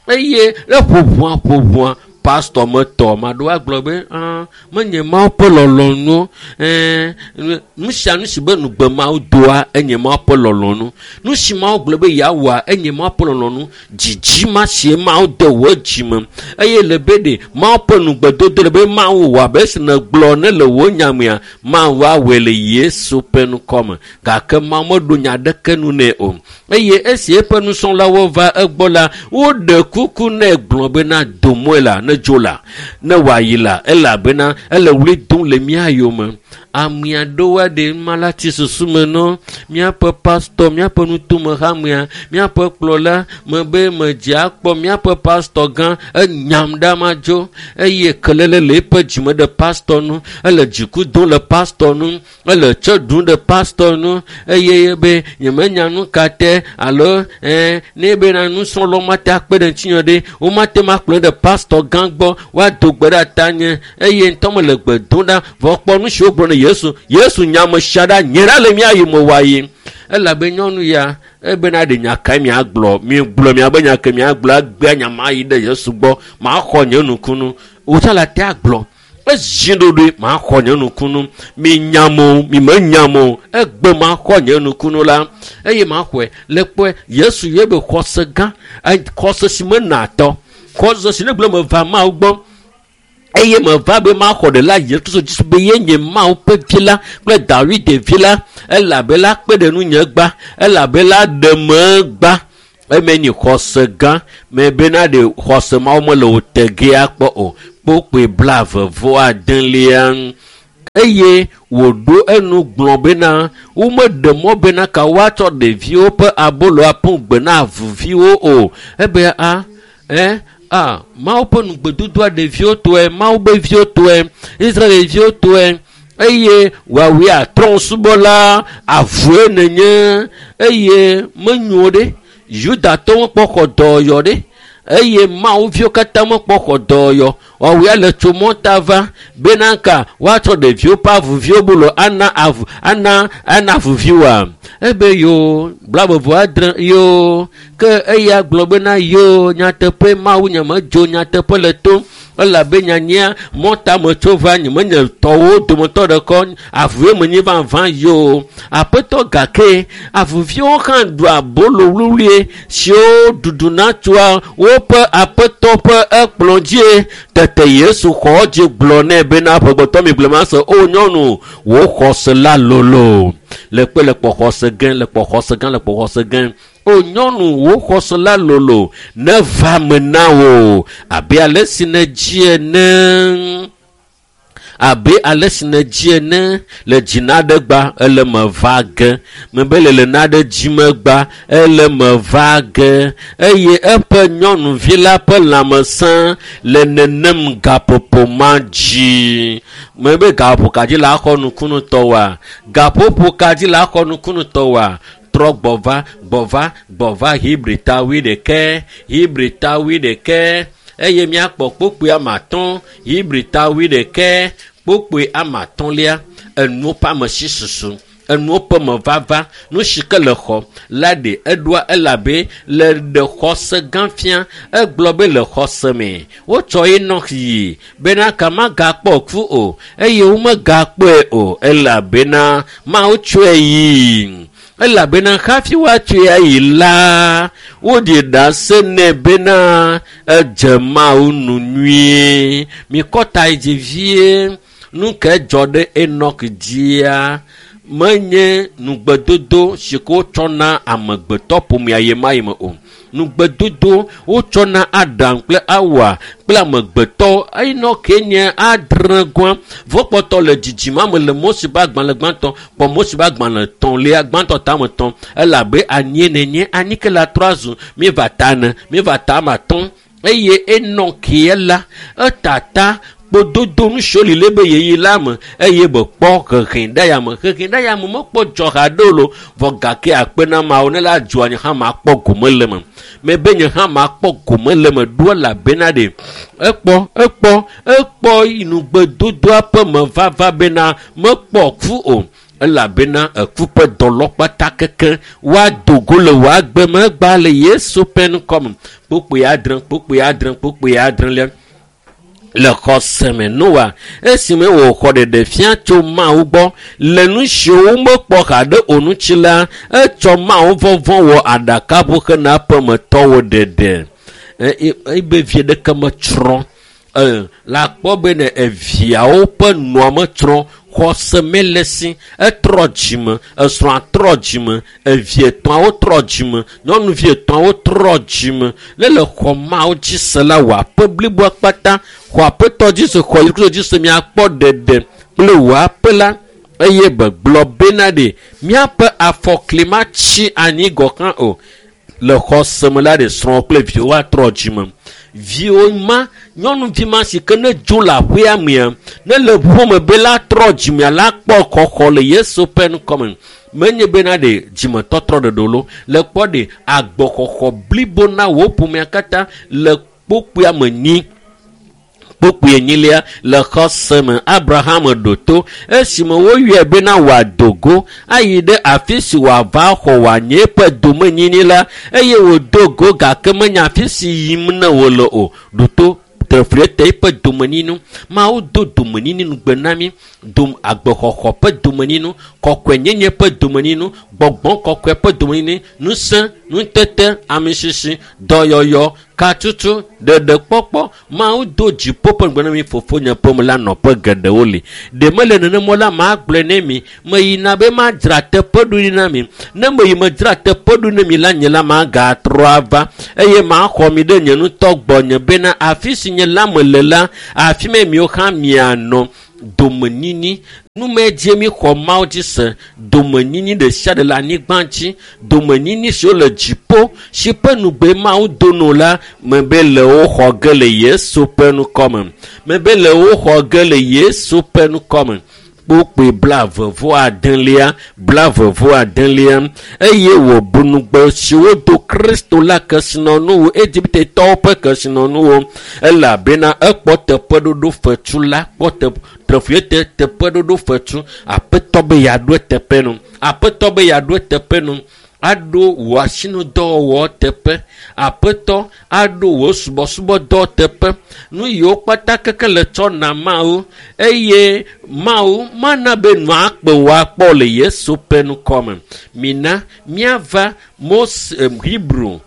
Eye le ƒo ʋua ƒo ʋua, pastor metɔ. Ame aɖewo agblɔ be, ah, menye Mawu ƒe lɔlɔ̃nu. Ɛɛ, nu sia nu si be nugbe Mawu doa, enye Mawu ƒe lɔlɔ̃nu. Nu si Mawu gblɔ be yeawɔa, enye Mawu ƒe lɔlɔ̃nu. Dzidzi ma si Mawu de wò dzime. Eye le be ɖe Mawu ƒe nugbedodo le be Mawu wɔ abe esi nègblɔ ne le wò nya mea, Mawu awɔe le Yesu ƒe ŋkɔme. Gake Mawu meɖo nya ɖeke nu nɛ o. Eye esi eƒe nusrɔ̃lawo va egbɔ la, woɖe kuku nɛ gblɔ bena, do mɔe la, ne dzo la, ne wòayi la, elabena ele ɣli dom le mía yome. Ame aɖewo aɖe ma la tsi susu me nɔ míaƒe pastor, míaƒe nutomehamea, míaƒe kplɔla, mebe medze akpɔ míaƒe pastor gã, enyam ɖa madzo. Eye kelele le eƒe dzime ɖe pastor nu, ele dziku dom le pastor nu, ele tse ɖum ɖe pastor nu, eye be nyemenya nu ka te alo ɛɛ ne bena nusrɔ̃lawo mate akpe ɖe ŋutinye ɖe, womate ŋu akplɔe ɖe pastor gã gbɔ, woado gbe ɖe tanye, eye ŋutɔ mele gbe dom ɖa, vɔ kpɔ nu si wogblɔ ne Yesu Yesu nyame sia ɖa nye ɖa le mía yome wa yi elabe nyɔnu ya ebena ɖe nya kae miagblɔ miegblɔ miabe nya ke miagblɔ egbea nya ma yi ɖe Yesu gbɔ maxɔ nye nukunu wòtsã le ate agblɔ ezi ɖoɖoe maxɔ nye nukunu mi nyam o mi menyam o egbe maxɔ nye nukunu la eye maxɔe le kpɔe Yesu ye be xɔse gã xɔse si mena atɔ xɔse si ne gblɔ meva Mawu gbɔ eye meva be maxɔ ɖe la Yesu Kristo dzi be ye nye Mawu ƒe vi la kple David vi la elabe la kpe ɖe nunye gba elabe la ɖe me gba eme nyi xɔse gã me bena ɖe xɔse mawo mele wo tegea kpɔ o kpokpoe blaeve vɔ adelia eye wòɖo enu gblɔ bena womeɖe mɔ bena ka woatsɔ ɖeviwo ƒe abolo aƒu gbe na avuviwo o ebe a ɛ a Mawu ƒe nugbedodoa ɖeviwo tɔe Mawu be viwo tɔe Israelviwo tɔe eye woawoe atrɔ̃subɔla avue nenye eye menyo ɖe Yudatɔwo mekpɔ xɔ dɔyɔ ɖe eye Mawu viwo katã mekpɔ xɔ dɔyɔ woawoe le tso mɔta va bena ka woatsɔ ɖeviwo ƒe avuviwo bolo ana avu ana ana avuviwoa ebe yo blaeve adre yo ke eya gblɔ bena yo nyateƒe Mawu nye medzo nyateƒe le to elabe nyanyia mɔta me tso va nye menye tɔwo dometɔ ɖeka avue menye vavã yo aƒetɔ gake avuviwo hã ɖua abolo wluwlue siwo ɖuɖuna tsoa woƒe aƒetɔ ƒe ekplɔ dzie tete Yesu xɔ dzi gblɔ nɛ bena ƒegbetɔ mi gblɔ ma se o nyɔnu wò xɔse la lolo le kpe le kpɔ xɔse gã le kpɔ xɔse gã le kpɔ xɔse gã o nyɔnu wò xɔse la lolo ne va me na wò abe ale si nèdzi ene abe ale si nèdzi ene le dzi naɖe gba ele me va ge mebe le le naɖe dzi megba ele me va ge eye eƒe nyɔnuvi la ƒe lãmesẽ le nenem gaƒoƒo ma dzi mebe gaƒoƒo ka dzi la xɔ nukunutɔ wa gaƒoƒo ka dzi la xɔ nukunutɔ wa trɔ gbɔva gbɔva gbɔva Hebrita wuiɖekɛ Hebrita wuiɖekɛ eye míakpɔ kpokpoe ame atɔ̃ Hebrita wuiɖekɛ kpokpoe ame atɔ̃lia enuwo ƒe ame si susu enuwo ƒe mevava nu si ke le xɔ la ɖe eɖoa elabe le ɖe xɔse gã fia egblɔ be le xɔse me wotsɔ Enɔk yi bena ka magakpɔ ku o eye womegakpɔe o elabena Mawu tsɔe yi elabena hafi woatsɔe ayi la woɖi ɖase nɛ bena edze Mawu nu nyuie mikɔ ta yi dzi vie nu ke dzɔ ɖe Enɔk dzia menye nugbedodo si ke wotsɔ na amegbetɔ ƒomea yi ma yi me o nugbedodo wotsɔ na Adam kple Awa kple amegbetɔ Enɔk nye adre gɔa vɔkpɔtɔ le dzidzime me le Mose ƒe agbalẽ gbãtɔ kpɔ Mose ƒe agbalẽ etɔ̃lia gbãtɔ tame etɔ̃ elabe anyie nenye anyi ke la trɔ azu mieva ta ene mieva ta ame atɔ̃ eye Enɔk la etata kpododo nu siwo li le be yeyi la me eye be kpɔ hehe ɖe ya me hehe ɖe ya me mekpɔ dzɔ haɖe o lo vɔ gake akpe na mawo ne la dzoa nye hã makpɔ gome le me mebe nye hã makpɔ gome le me ɖo elabena ɖe ekpɔ ekpɔ ekpɔ nugbedodoa ƒe mevava bena mekpɔ ku o elabena eku ƒe dɔlɔkpata keke woado go le wò agbe me egba le Yesu ƒe ŋkɔme kpokpoe adre kpokpoe adre kpokpoe adrelia le xɔse me Noa esime wòxɔ ɖeɖe fia tso Mawu gbɔ le nu siwo womekpɔ haɖe o ŋuti la etsɔ Mawu vɔvɔ̃ wɔ aɖakaʋu hena ƒemetɔwo ɖeɖe ebe vie ɖeke metsrɔ̃ la kpɔ be ne eviawo ƒe nua metsrɔ̃ xɔse mele si etrɔ dzime esrɔ̃a trɔ dzime evi etɔ̃awo trɔ dzime nyɔnuvi etɔ̃awo trɔ dzime ne le xɔ Mawu dzi se la wò aƒe bliboa kpata xɔ aƒetɔ dzi se xɔ Yesu Kristo dzi se miakpɔ ɖeɖe kple wò aƒe la eye begblɔ bena ɖe míaƒe afɔkli matsi anyi gɔ̃ hã o le xɔse me la ɖe srɔ̃ kple viwo atrɔ dzime viwo ma nyɔnuvi ma si ke ne dzo le aƒea mea ne le ʋume be la trɔ dzimea la kpɔ xɔxɔ le Yesu ƒe ŋkɔme menye bena ɖe dzimetɔtrɔ ɖeɖe lo le kpɔ ɖe agbɔxɔxɔ blibo na wò ƒomea katã le kpokpoea me nyi Kpukpui enyilia le xɔse me Abraham ɖo to esime woyɔe bena wòado go ayi ɖe afi si wòava xɔ wòanye eƒe domenyini la eye wòdo go gake menya afi si yim ne wòle o. Ɖo to trefliete eƒe domenyinu. Mawu do domenyinu ŋugbe na mí. Dom agbexɔxɔ ƒe domenyinu, kɔkɔenyenye ƒe domenyinu, gbɔgbɔ kɔkɔe ƒe domenyinu, ŋusẽ, nutete, amisisi, dɔyɔyɔ, katutu, ɖeɖekpɔkpɔ. Mawu do dziƒo ƒe ŋugbe na mí. Fofonye ƒe me la nɔƒe geɖewo li. Ɖe mele nenema la, magblɔe ne mi. Meyina be madzra teƒe ɖo na mi. Ne meyi medzra teƒe ɖo na mi la, nye la magatrɔ ava eye maxɔ mi ɖe nye ŋutɔ gbɔnye bena afi si nye la mele la, afi ma miwo hã mianɔ. Domenyini numedie mi xɔ Mawu dzi se. Domenyini ɖe sia ɖe le anyigba dzi, domenyini siwo le dziƒo si ƒe nugbe Mawu do no la, mebe le wo xɔ ge le Yesu ƒe ŋkɔme. Mebe le wo xɔ ge le Yesu ƒe ŋkɔme. Kpukpui blaeve vɔ adelia, blaeve vɔ adelia eye wòbu nugbe siwo do Kristo la kesinɔnuwo, Egiptetɔwo ƒe kesinɔnuwo, elabena ekpɔ teƒeɖoɖo fetu la, kpɔ te trefuete teƒeɖoɖo fetu. Aƒetɔ be yeaɖo eteƒe nu. Aƒetɔ be yeaɖo eteƒe nu. Aɖo wò asinudɔwɔwɔ teƒe. Aƒetɔ aɖo wò subɔsubɔdɔ teƒe. Nu yiwo kpata keke le tsɔ na Mawu eye Mawu mana be nua akpe wò akpɔ le Yesu ƒe ŋkɔme. Mina míava Mose Hebrew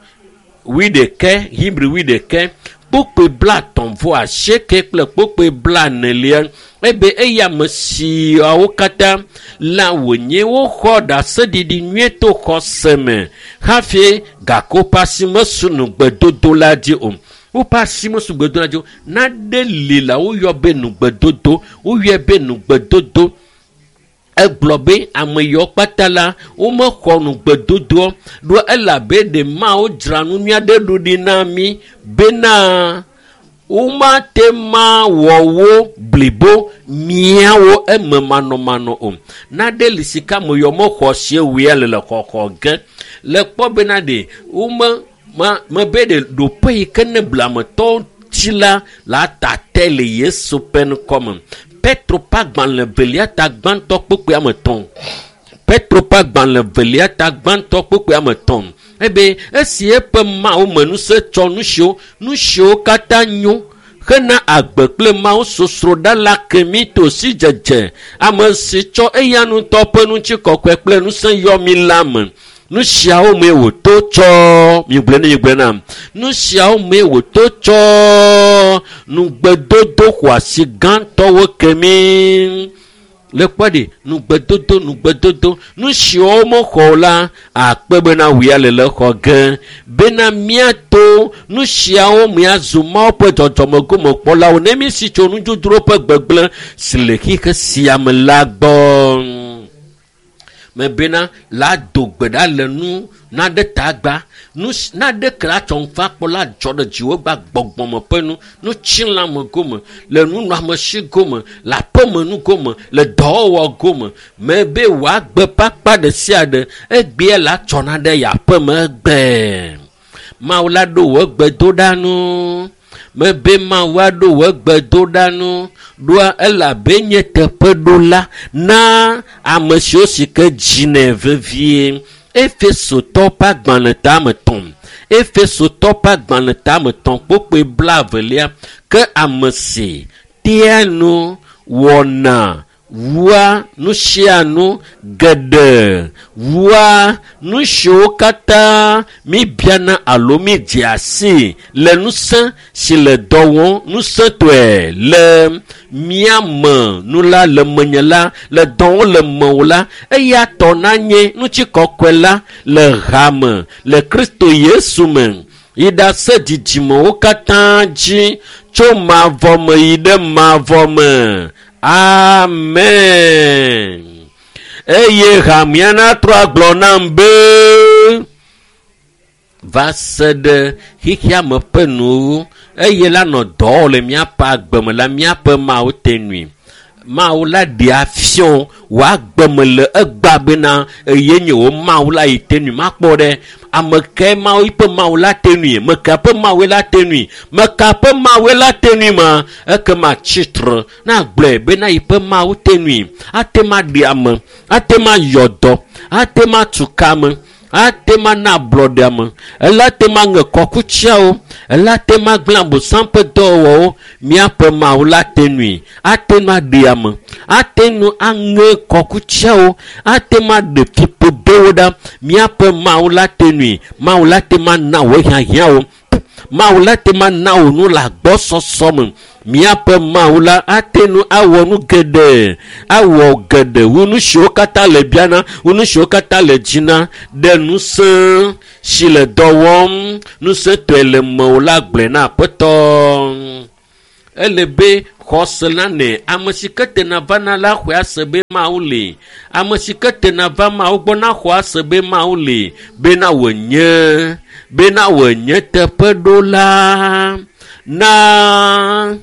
wuiɖekɛ, Hebrew wuiɖekɛ kpukpui blaetɔ̃ vɔ asieke kple kpukpui blaenelia ebe eya ame siawo katã la wònye woxɔ ɖaseɖiɖi nyuie to xɔse me hafi gake woƒe asi mesu nugbedodo la dzi o. Woƒe asi mesu nugbedodo la dzi o. Nane li la woyɔ be nugbedodo, woyɔe be nugbedodo. Egblɔ be ame yiwo kpata la womexɔ nugbedodoa ɖo elabe ɖe Mawu dzra nu nyui aɖe ɖo ɖi na mí bena womate ma wɔ wo blibo miawo eme manɔmanɔ o. Nane li si ke ame yiwo mexɔ sie wòya le le xɔxɔ ge. Le kpɔ bena ɖe wome ma mebe ɖe ɖoƒe yi ke ne blametɔwo tsi la la tate le Yesu ƒe ŋkɔme. Petro ƒe agbalẽ velia ta gbãtɔ kpukpui ame etɔ̃. Petro ƒe agbalẽ velia ta gbãtɔ kpukpui ame etɔ̃. Ebe esi eƒe Mawu me ŋusẽ tsɔ nu siwo nu siwo katã nyo hena agbe kple Mawu sosroɖa la ke mí to sidzedze ame si tsɔ eya ŋutɔ ƒe ŋutikɔkɔe kple ŋusẽ yɔ mí la me. Nu siawo mee wòto tsɔ migblɔe ne migblɔe nam. Nu siawo mee wòto tsɔ nugbedodo xɔasi gãtɔwo ke mí. Le kpɔ ɖi nugbedodo nugbedodo nu siwo mexɔ o la akpe bena wòya le le xɔ ge bena míato nu siawo míazu Mawu ƒe dzɔdzɔmegomekpɔlawo ne mísi tso nudzodzro ƒe gbegblẽ si le xixe sia me la gbɔ. Mebena la do gbe ɖa le nu naɖe tagba nu naɖe ke la tsɔ ŋfa kpɔ la dzɔ ɖe dziwò gba gbɔgbɔme ƒe nu nutsilãme gome le nunɔamesi gome le aƒemenu gome le dɔwɔwɔ gome mebe wòagbe ƒe akpa ɖe sia ɖe egbea la tsɔna ɖe yeaƒeme egbe. Mawu la ɖo wò gbedoɖa nu. Mebe Mawu aɖo wò gbedoɖa nu ɖoa elabe nye teƒeɖola na ame siwo si ke dzinɛ vevie. Efesotɔ ƒe agbalẽ ta ame etɔ̃. Efesotɔ ƒe agbalẽ ta ame etɔ̃ kpukpui blaevelia ke ame si tea nu wɔna wua nu sia nu geɖe wua nu siwo katã míbiana alo mídzea sii le ŋusẽ si le dɔ wɔm ŋusẽtɔe le mía me nu la le menye la le dɔ wɔm le mewò la eya tɔ nanye ŋutikɔkɔe la le hame le Kristo Yesu me yi ɖase dzidzimewo katã dzi tso mavɔ me yi ɖe mavɔ me. Amen. Eye hamea natrɔ agblɔ nam be va se ɖe xexea me ƒe nuwo eye la nɔ dɔ wɔm le míaƒe agbe me la míaƒe Mawu te nui. Mawu la ɖe afiɔ wòagbeme le egba bena eye nye wo Mawu la yi te nui makpɔ ɖe ame ke Mawu ƒe Mawu la te nui meka ƒe Mawu la te nui meka ƒe Mawu la te nui ma ekema tsitre na gblɔe bena yi ƒe Mawu te nui ate ma ɖe ame ate ma yɔ dɔ ate ma tu kame ate ma na ablɔɖe ame ela te ma ŋe kɔkutsiawo ela te ma gblẽ abosam ƒe dɔwɔwɔwo míaƒe Mawu la te nui ate nu aɖe ame ate nu aŋe kɔkutsiawo ate ma ɖe fiƒodewo ɖa míaƒe Mawu la te nui Mawu la te ma na wò hiahiãwo Mawu la te ma na wò nu le agbɔsɔsɔ me míaƒe Mawu la ate nu awɔ nu geɖe awɔ geɖe wu nu siwo katã le biana wu nu siwo katã le dzina ɖe ŋusẽ si le dɔ wɔm ŋusẽtɔe le mewò la gblɔe na Aƒetɔ. Ele be xɔse la nɛ ame si ke tena vana la xɔe ase be Mawu li ame si ke tena va Mawu gbɔ na xɔ ase be Mawu li bena wònye bena wònye teƒeɖola na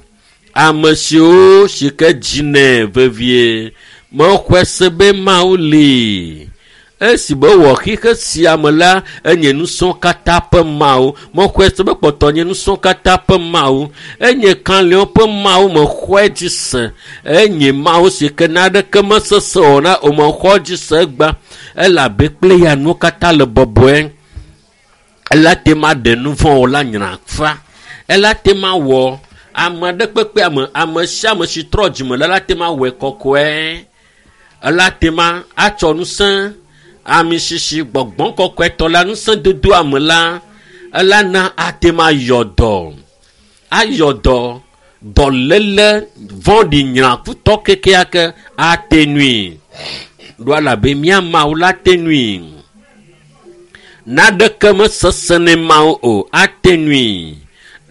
ame siwo si ke dzinɛ vevie mexɔe se be Mawu li esi be wɔ xixe sia me la enye nusɔ̃ katã ƒe Mawu mexɔe se be kpɔtɔ nye nusɔ̃ katã ƒe Mawu enye kalẽwo ƒe Mawu mexɔe dzi se enye Mawu si ke naɖeke mesesẽ o na o mexɔ dzi se egba elabe kple ya nuwo katã le bɔbɔe ela te ma ɖe nu vɔ̃ o la nyra fa ela te ma wɔ ame aɖe kpekpe ame ame sia ame si trɔ dzime la la te ma wɔe kɔkɔe ela te ma atsɔ ŋusẽ ami sisi gbɔgbɔ kɔkɔetɔ la ŋusẽ dodo ame la ela na ate ma yɔ dɔ ayɔ dɔ dɔléle vɔ̃ɖi nyrakutɔ kekeake ate nui ɖo elabe mía Mawu la te nui naɖeke mesesẽ ne Mawu o ate nui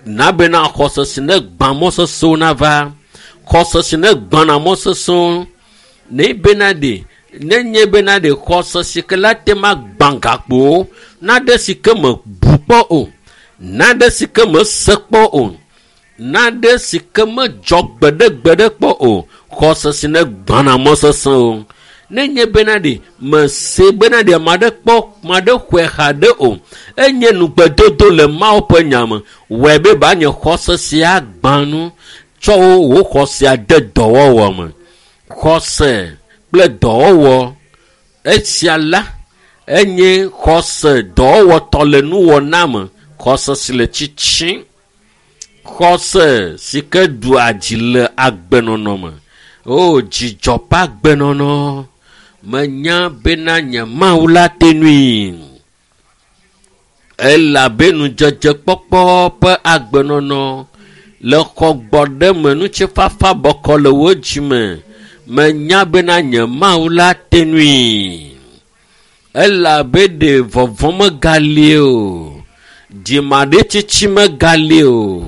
na bena xɔse si ne gbã mɔ sesẽwo nava xɔse si ne gbãna mɔ sesẽwo ne bena ɖe nenye bena ɖe xɔse si ke la te ma gbã gakpowo naɖe si ke me bu kpɔ o naɖe si ke me se kpɔ o naɖe si ke me dzɔ gbeɖegbeɖe kpɔ o xɔse si ne gbãna mɔ sesẽwo nenye bena ɖe mese bena ɖe ame aɖe kpɔ ame aɖe xɔe haɖe o enye nugbedodo le Mawu ƒe nya me wɔe be ba nye xɔse sia gbã nu tsɔ wo wò xɔsea de dɔwɔwɔ me xɔse kple dɔwɔwɔ esia la enye xɔse dɔwɔwɔtɔ le nuwɔna me xɔse si le tsitsim xɔse si ke ɖua dzi le agbenɔnɔ me o dzidzɔ ƒe agbenɔnɔ menya bena nye Mawu la te nui elabe nudzedzekpɔkpɔ ƒe agbenɔnɔ le xɔ gbɔ ɖe me ŋutifafa bɔkɔ le wo dzime menya bena nye Mawu la te nui elabe ɖe vɔvɔ̃ megali o dzimaɖitsitsi megali o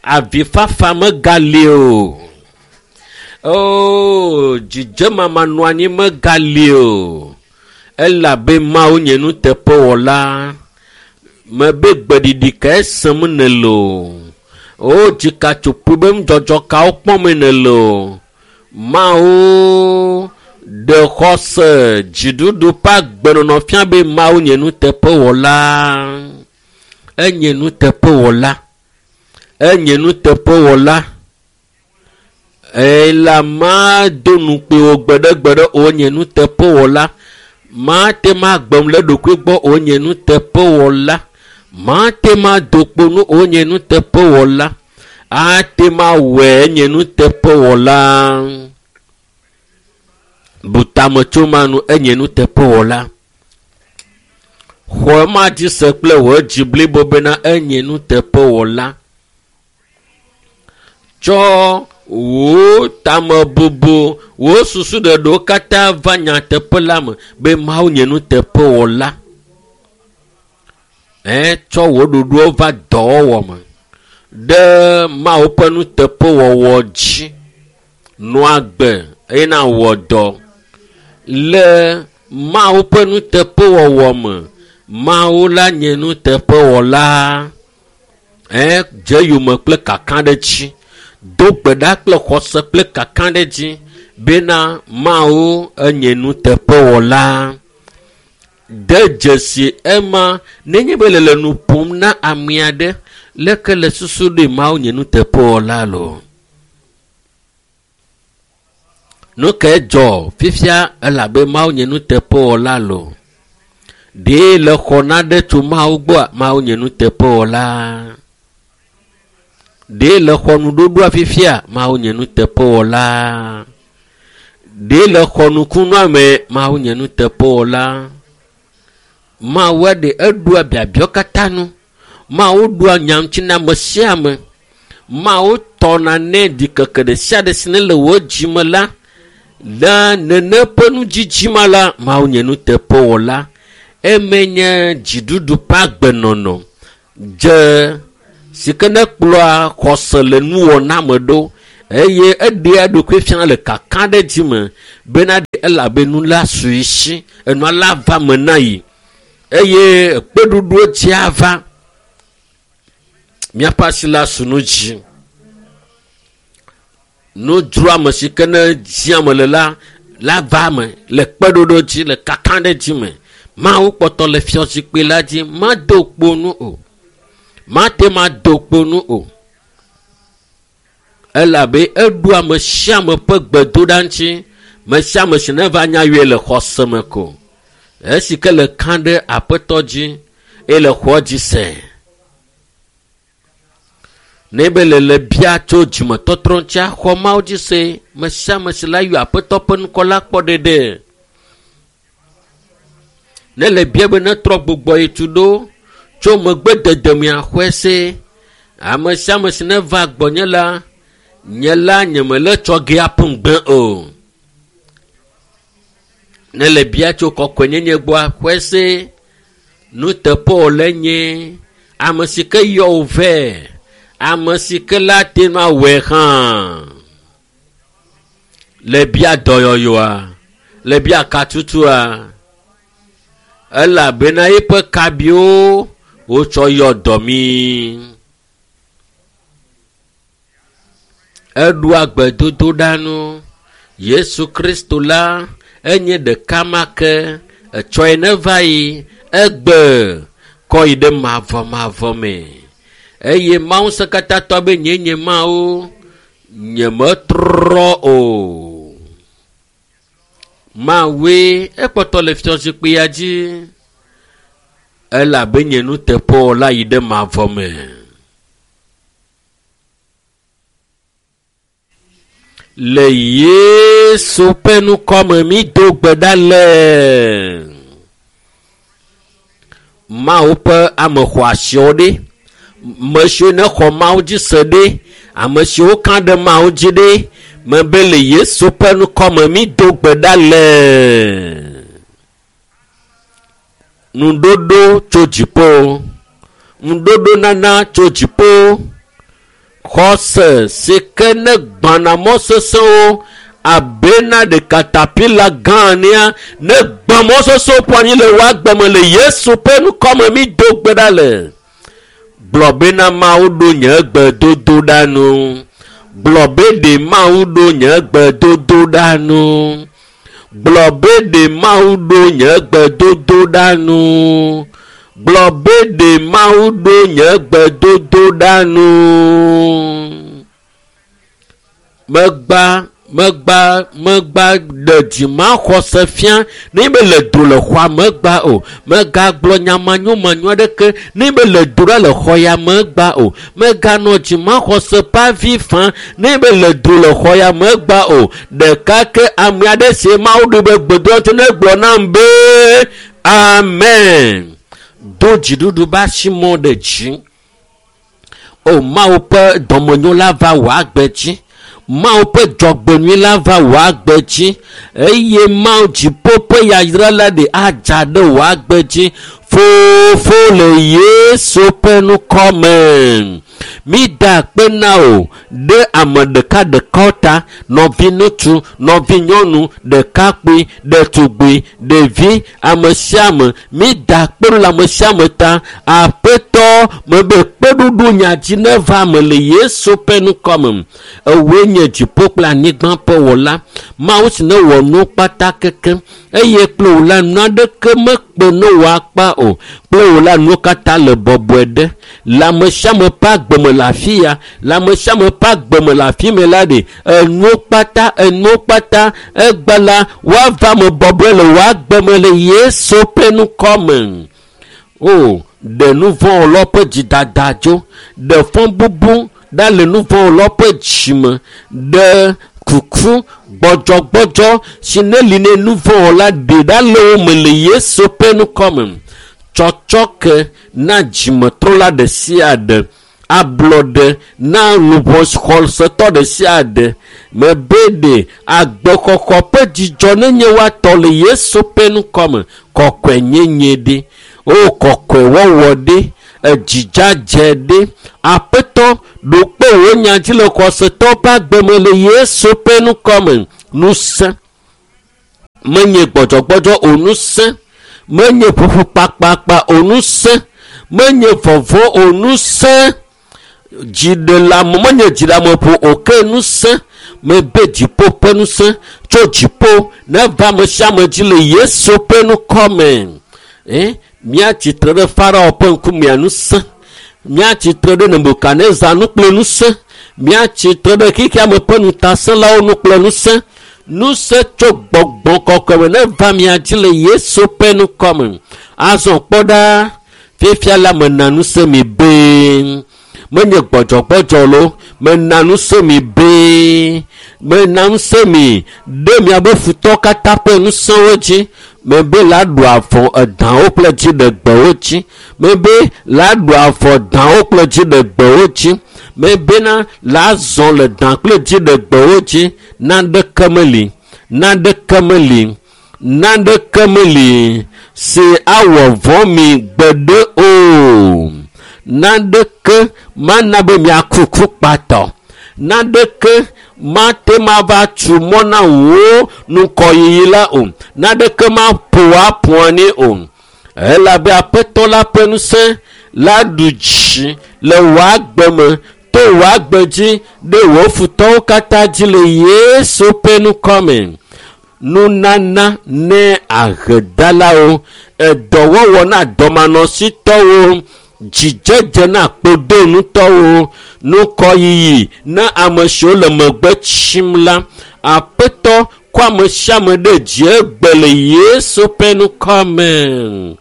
avifafa megali o o dzidzemama nɔ anyi megali o elabe Mawu nye nuteƒewɔla mebe gbeɖiɖi kae sem nèle o o dzikatsoƒoe be nudzɔdzɔ kawo kpɔm nèle o Mawu ɖe xɔse dziɖuɖu ƒe agbenɔnɔ fia be Mawu nye nuteƒewɔla enye nuteƒewɔla enye nuteƒewɔla ela ma do nukpe wo gbeɖegbeɖe o nye nuteƒewɔla mate ma gbem le ɖokui gbɔ o nye nuteƒewɔla mate ma do kpo nu o nye nuteƒewɔla ate ma wɔe nye nuteƒewɔla bu tame tso ma nu enye nuteƒewɔla xɔ ma dzi se kple wò dzi blibo bena enye nuteƒewɔla tsɔ wò tamebubu wò susu ɖeɖewo katã va nyateƒe la me be Mawu nye nuteƒewɔla ɛ tsɔ wò ɖoɖowo va dɔwɔwɔ me ɖe Mawu ƒe nuteƒewɔwɔ dzi nɔ agbe eye nawɔ dɔ le Mawu ƒe nuteƒewɔwɔ me Mawu la nye nuteƒewɔla ɛ dze yome kple kakaɖedzi do gbe ɖa kple xɔse kple kakaɖedzi Bena Mawu enye nuteƒewɔla. De dzesi ema nenye be le le nu ƒom na ame aɖe leke le susu ɖe Mawu nye nuteƒewɔla lo. Nu ke dzɔ fifia elabe Mawu nye nuteƒewɔla lo. Ɖe le xɔ naɖe tso Mawu gbɔa Mawu nye nuteƒewɔla. Ɖe le xɔ nuɖoɖoa fifia Mawu nye nuteƒewɔla. Ɖe le xɔ nukunua me Mawu nye nuteƒewɔla. Mawu ɖe eɖoa biabiawo katã nu. Mawu ɖoa nya ŋuti na ame sia ame. Mawu tɔna nɛ ɖikeke ɖe sia ɖe si ne le wò dzime la, le nene ƒe nudzidzima la, Mawu nye nuteƒewɔla. Eme nye dziɖuɖu ƒe agbenɔnɔ dze si ke ne kplɔa xɔse le nuwɔna me ɖo eye eɖea eɖokui fiana le kaka ɖe dzi me bena elabe nu la su si enua la va me na yi eye kpeɖuɖuwo dzi ava miaƒe asi la su nu dzi. Nudzroame si ke ne dziame le la la va me le kpeɖoɖo dzi le kaka ɖe dzi me. Mawu kpɔtɔ le fiazikpui la dzi mado kpo nu o. Mate mado kpo nu o. Elabe eɖo ame sia ame ƒe gbedoɖa ŋuti. Me sia ame si neva nya yɔe le xɔse me ko. Esi ke le ka ɖe aƒetɔ dzi eye le xɔ dzi se. Ne be le le bia tso dzimetɔtrɔ ŋuti axɔ Mawu dzi se. Me sia ame si la yɔ aƒetɔ ƒe ŋkɔ la kpɔ ɖeɖe. Ne le bia be netrɔ gbugbɔ yi tu ɖo tso megbe dede mia xɔe se. Ame sia ame si neva gbɔnye la, nye la nye mele tsɔ ge aƒu ŋugbe o. Ne le bia tso kɔkɔenyenye gbɔa xɔe se. Nuteƒewɔlae nye ame si ke yɔ wò vɛ. Ame si ke la te ŋu awɔe hã. Le bia dɔyɔyɔa, le bia katutua, elabena eƒe kabiwo wotsɔ yɔ dɔ mí. Eɖoa gbedodoɖa nu. Yesu Kristo la enye ɖeka ma ke etsɔe neva yi egbe kɔ yi ɖe mavɔmavɔ me. Eye Mawu ŋusẽkatãtɔ be nye nye Mawu nyemetrɔ o. Mawue ekpɔtɔ le fiazikpuia dzi elabe nye nuteƒewɔla yi ɖe mavɔ me. Le Yesu ƒe ŋkɔ me mi do gbe ɖa le Mawu ƒe ame xɔasiwo ɖe, me siwo ne xɔ Mawu dzi se ɖe, ame siwo ka ɖe Mawu dzi ɖe, mebe le Yesu ƒe ŋkɔ me mi do gbe ɖa le nuɖoɖo tso dziƒo, nuɖoɖo nana tso dziƒo, xɔse si ke ne gbãna mɔ sesẽwo abena ɖe katapila gã nea ne gbã mɔ sesẽwo ƒo anyi le wò agbe me le Yesu ƒe ŋkɔ me mi do gbe ɖa le. Gblɔ bena Mawu ɖo nye gbedodoɖa nu. Gblɔ be ɖe Mawu ɖo nye gbedodoɖa nu. Gblɔ be ɖe Mawu ɖo nye gbedodoɖa nu. Gblɔ be ɖe Mawu ɖo nye gbedodoɖa nu. Megba, megba, megba ɖe dzimaxɔse fia ne be le do le xɔa megba o. Megagblɔ nya manyomanyo aɖeke ne be le do ɖa le xɔ ya megba o. Meganɔ dzimaxɔse ƒe avi fam ne be le do le xɔ ya megba o. Ɖeka ke ame aɖe si Mawu ɖo be gbedoa ŋuti ne gblɔ nam be amen. Do dziɖuɖu be asimɔ ɖe dzi. O Mawu ƒe dɔmenyo la va wò agbe dzi. Mawu ƒe dzɔgbenyui la va wò agbe dzi eye Mawu dziƒo ƒe yayra la ɖe adza ɖe wò agbe dzi. Fofo le Yesu ƒe ŋkɔ me. Mi da akpe na wò ɖe ame ɖekaɖekawo ta, nɔvi ŋutsu, nɔvi nyɔnu, ɖekakpui, ɖetugbui, ɖevi, ame sia ame. Mi da akpe le ame sia ame ta. Aƒetɔ mebe kpeɖuɖu nya dzi neva eme le Yesu ƒe ŋkɔ me. Ewoe nye dziƒo kple anyigba ƒe wɔla. Mawu si ne wɔ nuwo kpata kekem eye kple wò la nu aɖeke mekpe ne wò akpa o. Kple wò la nuwo katã le bɔbɔe ɖe. Le ame sia ame ƒe agbeme le afi ya, le ame sia ame ƒe agbeme le afi me la ɖe, enuwo kpata, enuwo kpata, egbe la woava eme bɔbɔe le wò agbeme le Yesu ƒe ŋkɔ me. O, ɖe nu vɔ̃wɔlawo ƒe dzidada dzo, ɖe fɔbubu ɖa le nu vɔ̃wɔlawo ƒe dzime, ɖe kuku gbɔdzɔgbɔdzɔ si ne li ne nu vɔ̃wɔla ɖe ɖa le wo me le Yesu ƒe ŋkɔ me. Tsɔtsɔke na dzimetrɔla ɖe sia ɖe, ablɔɖe na luʋɔ xɔsetɔ ɖe sia ɖe. Mebe ɖe agbexɔxɔ ƒe dzidzɔ nenye woatɔ le Yesu ƒe ŋkɔ me. Kɔkɔenyenye ɖe, o kɔkɔewɔwɔ ɖe, edzidzadze ɖe. Aƒetɔ ɖo kpe wò nya dzi le xɔsetɔwo ƒe agbeme le Yesu ƒe ŋkɔ me. Ŋusẽ menye gbɔdzɔgbɔdzɔ o, ŋusẽ menye ƒuƒu kpakpakpa o, ŋusẽ menye vɔvɔ̃ o, ŋusẽ dziɖeleame menye dziɖeameƒo o, ke ŋusẽ mebe dziƒo ƒe ŋusẽ tso dziƒo neva ame sia ame dzi le Yesu ƒe ŋkɔ me. Eh, míatsitre ɖe Farao ƒe ŋkumea ŋusẽ, míatsitre ɖe Nebukadnezar nu kple ŋusẽ, míatsitre ɖe xexeame ƒe ŋutasẽlawo nu kple ŋusẽ. Ŋusẽ tso gbɔgbɔ kɔkɔe me neva mia dzi le Yesu ƒe ŋkɔ me. Azɔ kpɔ ɖa, fifia la mena ŋusẽ mi be menye gbɔdzɔgbɔdzɔ lo, mena ŋusẽ mi be mena ŋusẽ mi ɖe miabe futɔwo katã ƒe ŋusẽwo dzi. Mebe la ɖu avɔ edãwo kple dziɖegbewo dzi. Mebe la ɖu avɔ dãwo kple dziɖegbewo dzi. Mebena la zɔ le dã kple dziɖegbewo dzi. Naneke meli, naneke meli, naneke meli si awɔ vɔ̃ mi gbeɖe o. Naneke mana be miaku ku kpatɔ. Naneke mate mava tu mɔ na wò ŋkɔyiyi la o. Naneke maƒo wò aƒo anyi o. Elabe Aƒetɔ la ƒe ŋusẽ la ɖu dzi le wò agbe me, to wò agbe dzi ɖe wò futɔwo katã dzi le Yesu ƒe ŋkɔ me. Nunana ne ahedalawo, edɔwɔwɔ na dɔmanɔsitɔwo, dzidzedze na kpodonutɔwo, nukɔyiyi na ame siwo le megbe tsim la. Aƒetɔ kɔ ame sia ame ɖe dzi egbe le Yesu ƒe ŋkɔ me.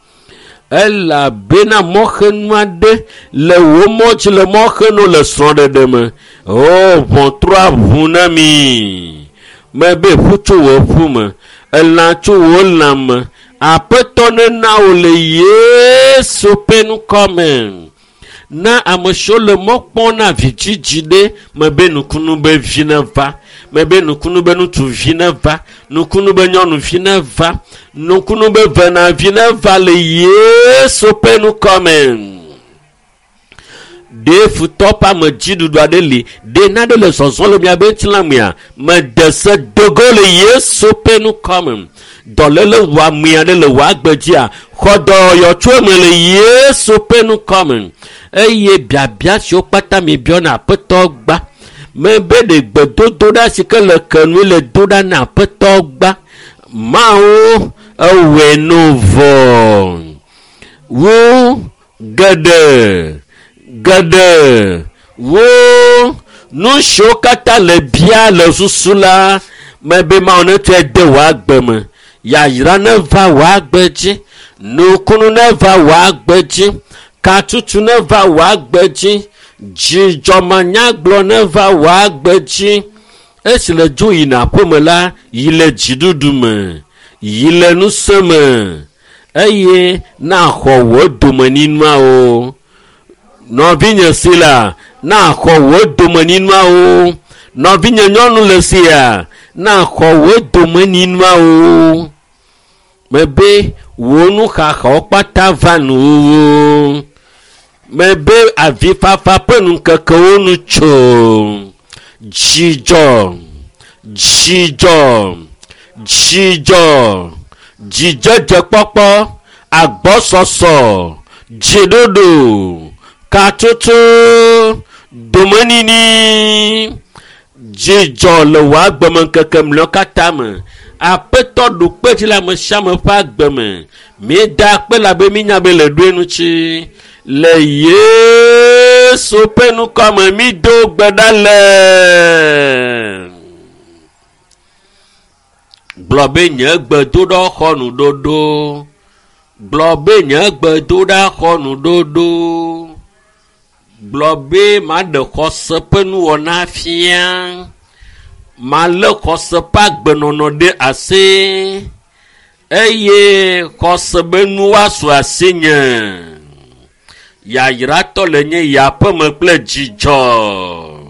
Elabena mɔxenu aɖe le wò mɔ dzi le mɔxenu le srɔ̃ɖeɖe me. O, ʋɔtrua ʋu na mi. Mebe ƒu tso wò ƒu me, elã tso wò lã me. Aƒetɔ nena wò le Yesu ƒe ŋkɔ me. Na ame siwo le mɔ kpɔm na vidzidzi ɖe, mebe nukunu be vi neva, mebe nukunu be ŋutsuvi neva, nukunu be nyɔnuvi neva, nukunu be venavi neva le Yesu ƒe ŋkɔ me. Ɖe futɔ ƒe amedziɖuɖu aɖe li, ɖe naɖe le zɔzɔm le miabe ŋutilã mea, mede se dogo le Yesu ƒe ŋkɔ me. Dɔléle wɔame aɖe le wò agbe dzia, xɔ dɔyɔyɔ tso eme le Yesu ƒe ŋkɔ me. Eye biabia siwo kpata mi biɔna Aƒetɔ gba, mebe ɖe gbedodoɖa si ke le ke nui le do ɖa na Aƒetɔ gba. Mawu ewɔe nu vɔ. Wo geɖe, geɖe, wo nu siwo katã le bia le susu la, mebe Mawu netsɔe de wò agbe me. Yayra neva wò agbe dzi, nukunu neva wò agbe dzi, katutu neva wò agbe dzi, dzidzɔmanyagblɔ neva wò agbe dzi. Esi le dzo yina aƒeme la, yi le dziɖuɖu me, yi le ŋusẽ me, eye naxɔ wò domenyinuawo. Nɔvinye si la, naxɔ wò domenyinuawo. Nɔvinye nyɔnu le sia, naxɔ wò domenyinuawo. Mebe wò nuxaxawo kpata va nuwuwu. Mebe avifafa ƒe ŋkekewo nu tso. Dzidzɔ, dzidzɔ, dzidzɔ, dzidzedzekpɔkpɔ, agbɔsɔsɔ, dziɖuɖu, katutu, domenini. Dzidzɔ le wò agbemeŋkeke mlɔewo katã me. Aƒetɔ ɖo kpe dzi le ame sia ame ƒe agbe me. Míeda akpe labe mínya be le ɖoe ŋuti. Le Yesu ƒe ŋkɔ me mído gbe ɖa le. Gblɔ be nye gbedoɖa xɔ nuɖoɖo. Gblɔ be nye gbedoɖa xɔ nuɖoɖo. Gblɔ be maɖe xɔse ƒe nuwɔna fia. Malé xɔse ƒe agbenɔnɔ ɖe asi eye xɔse be nu woasu asinye. Yayratɔ le nye yaƒeme kple dzidzɔ.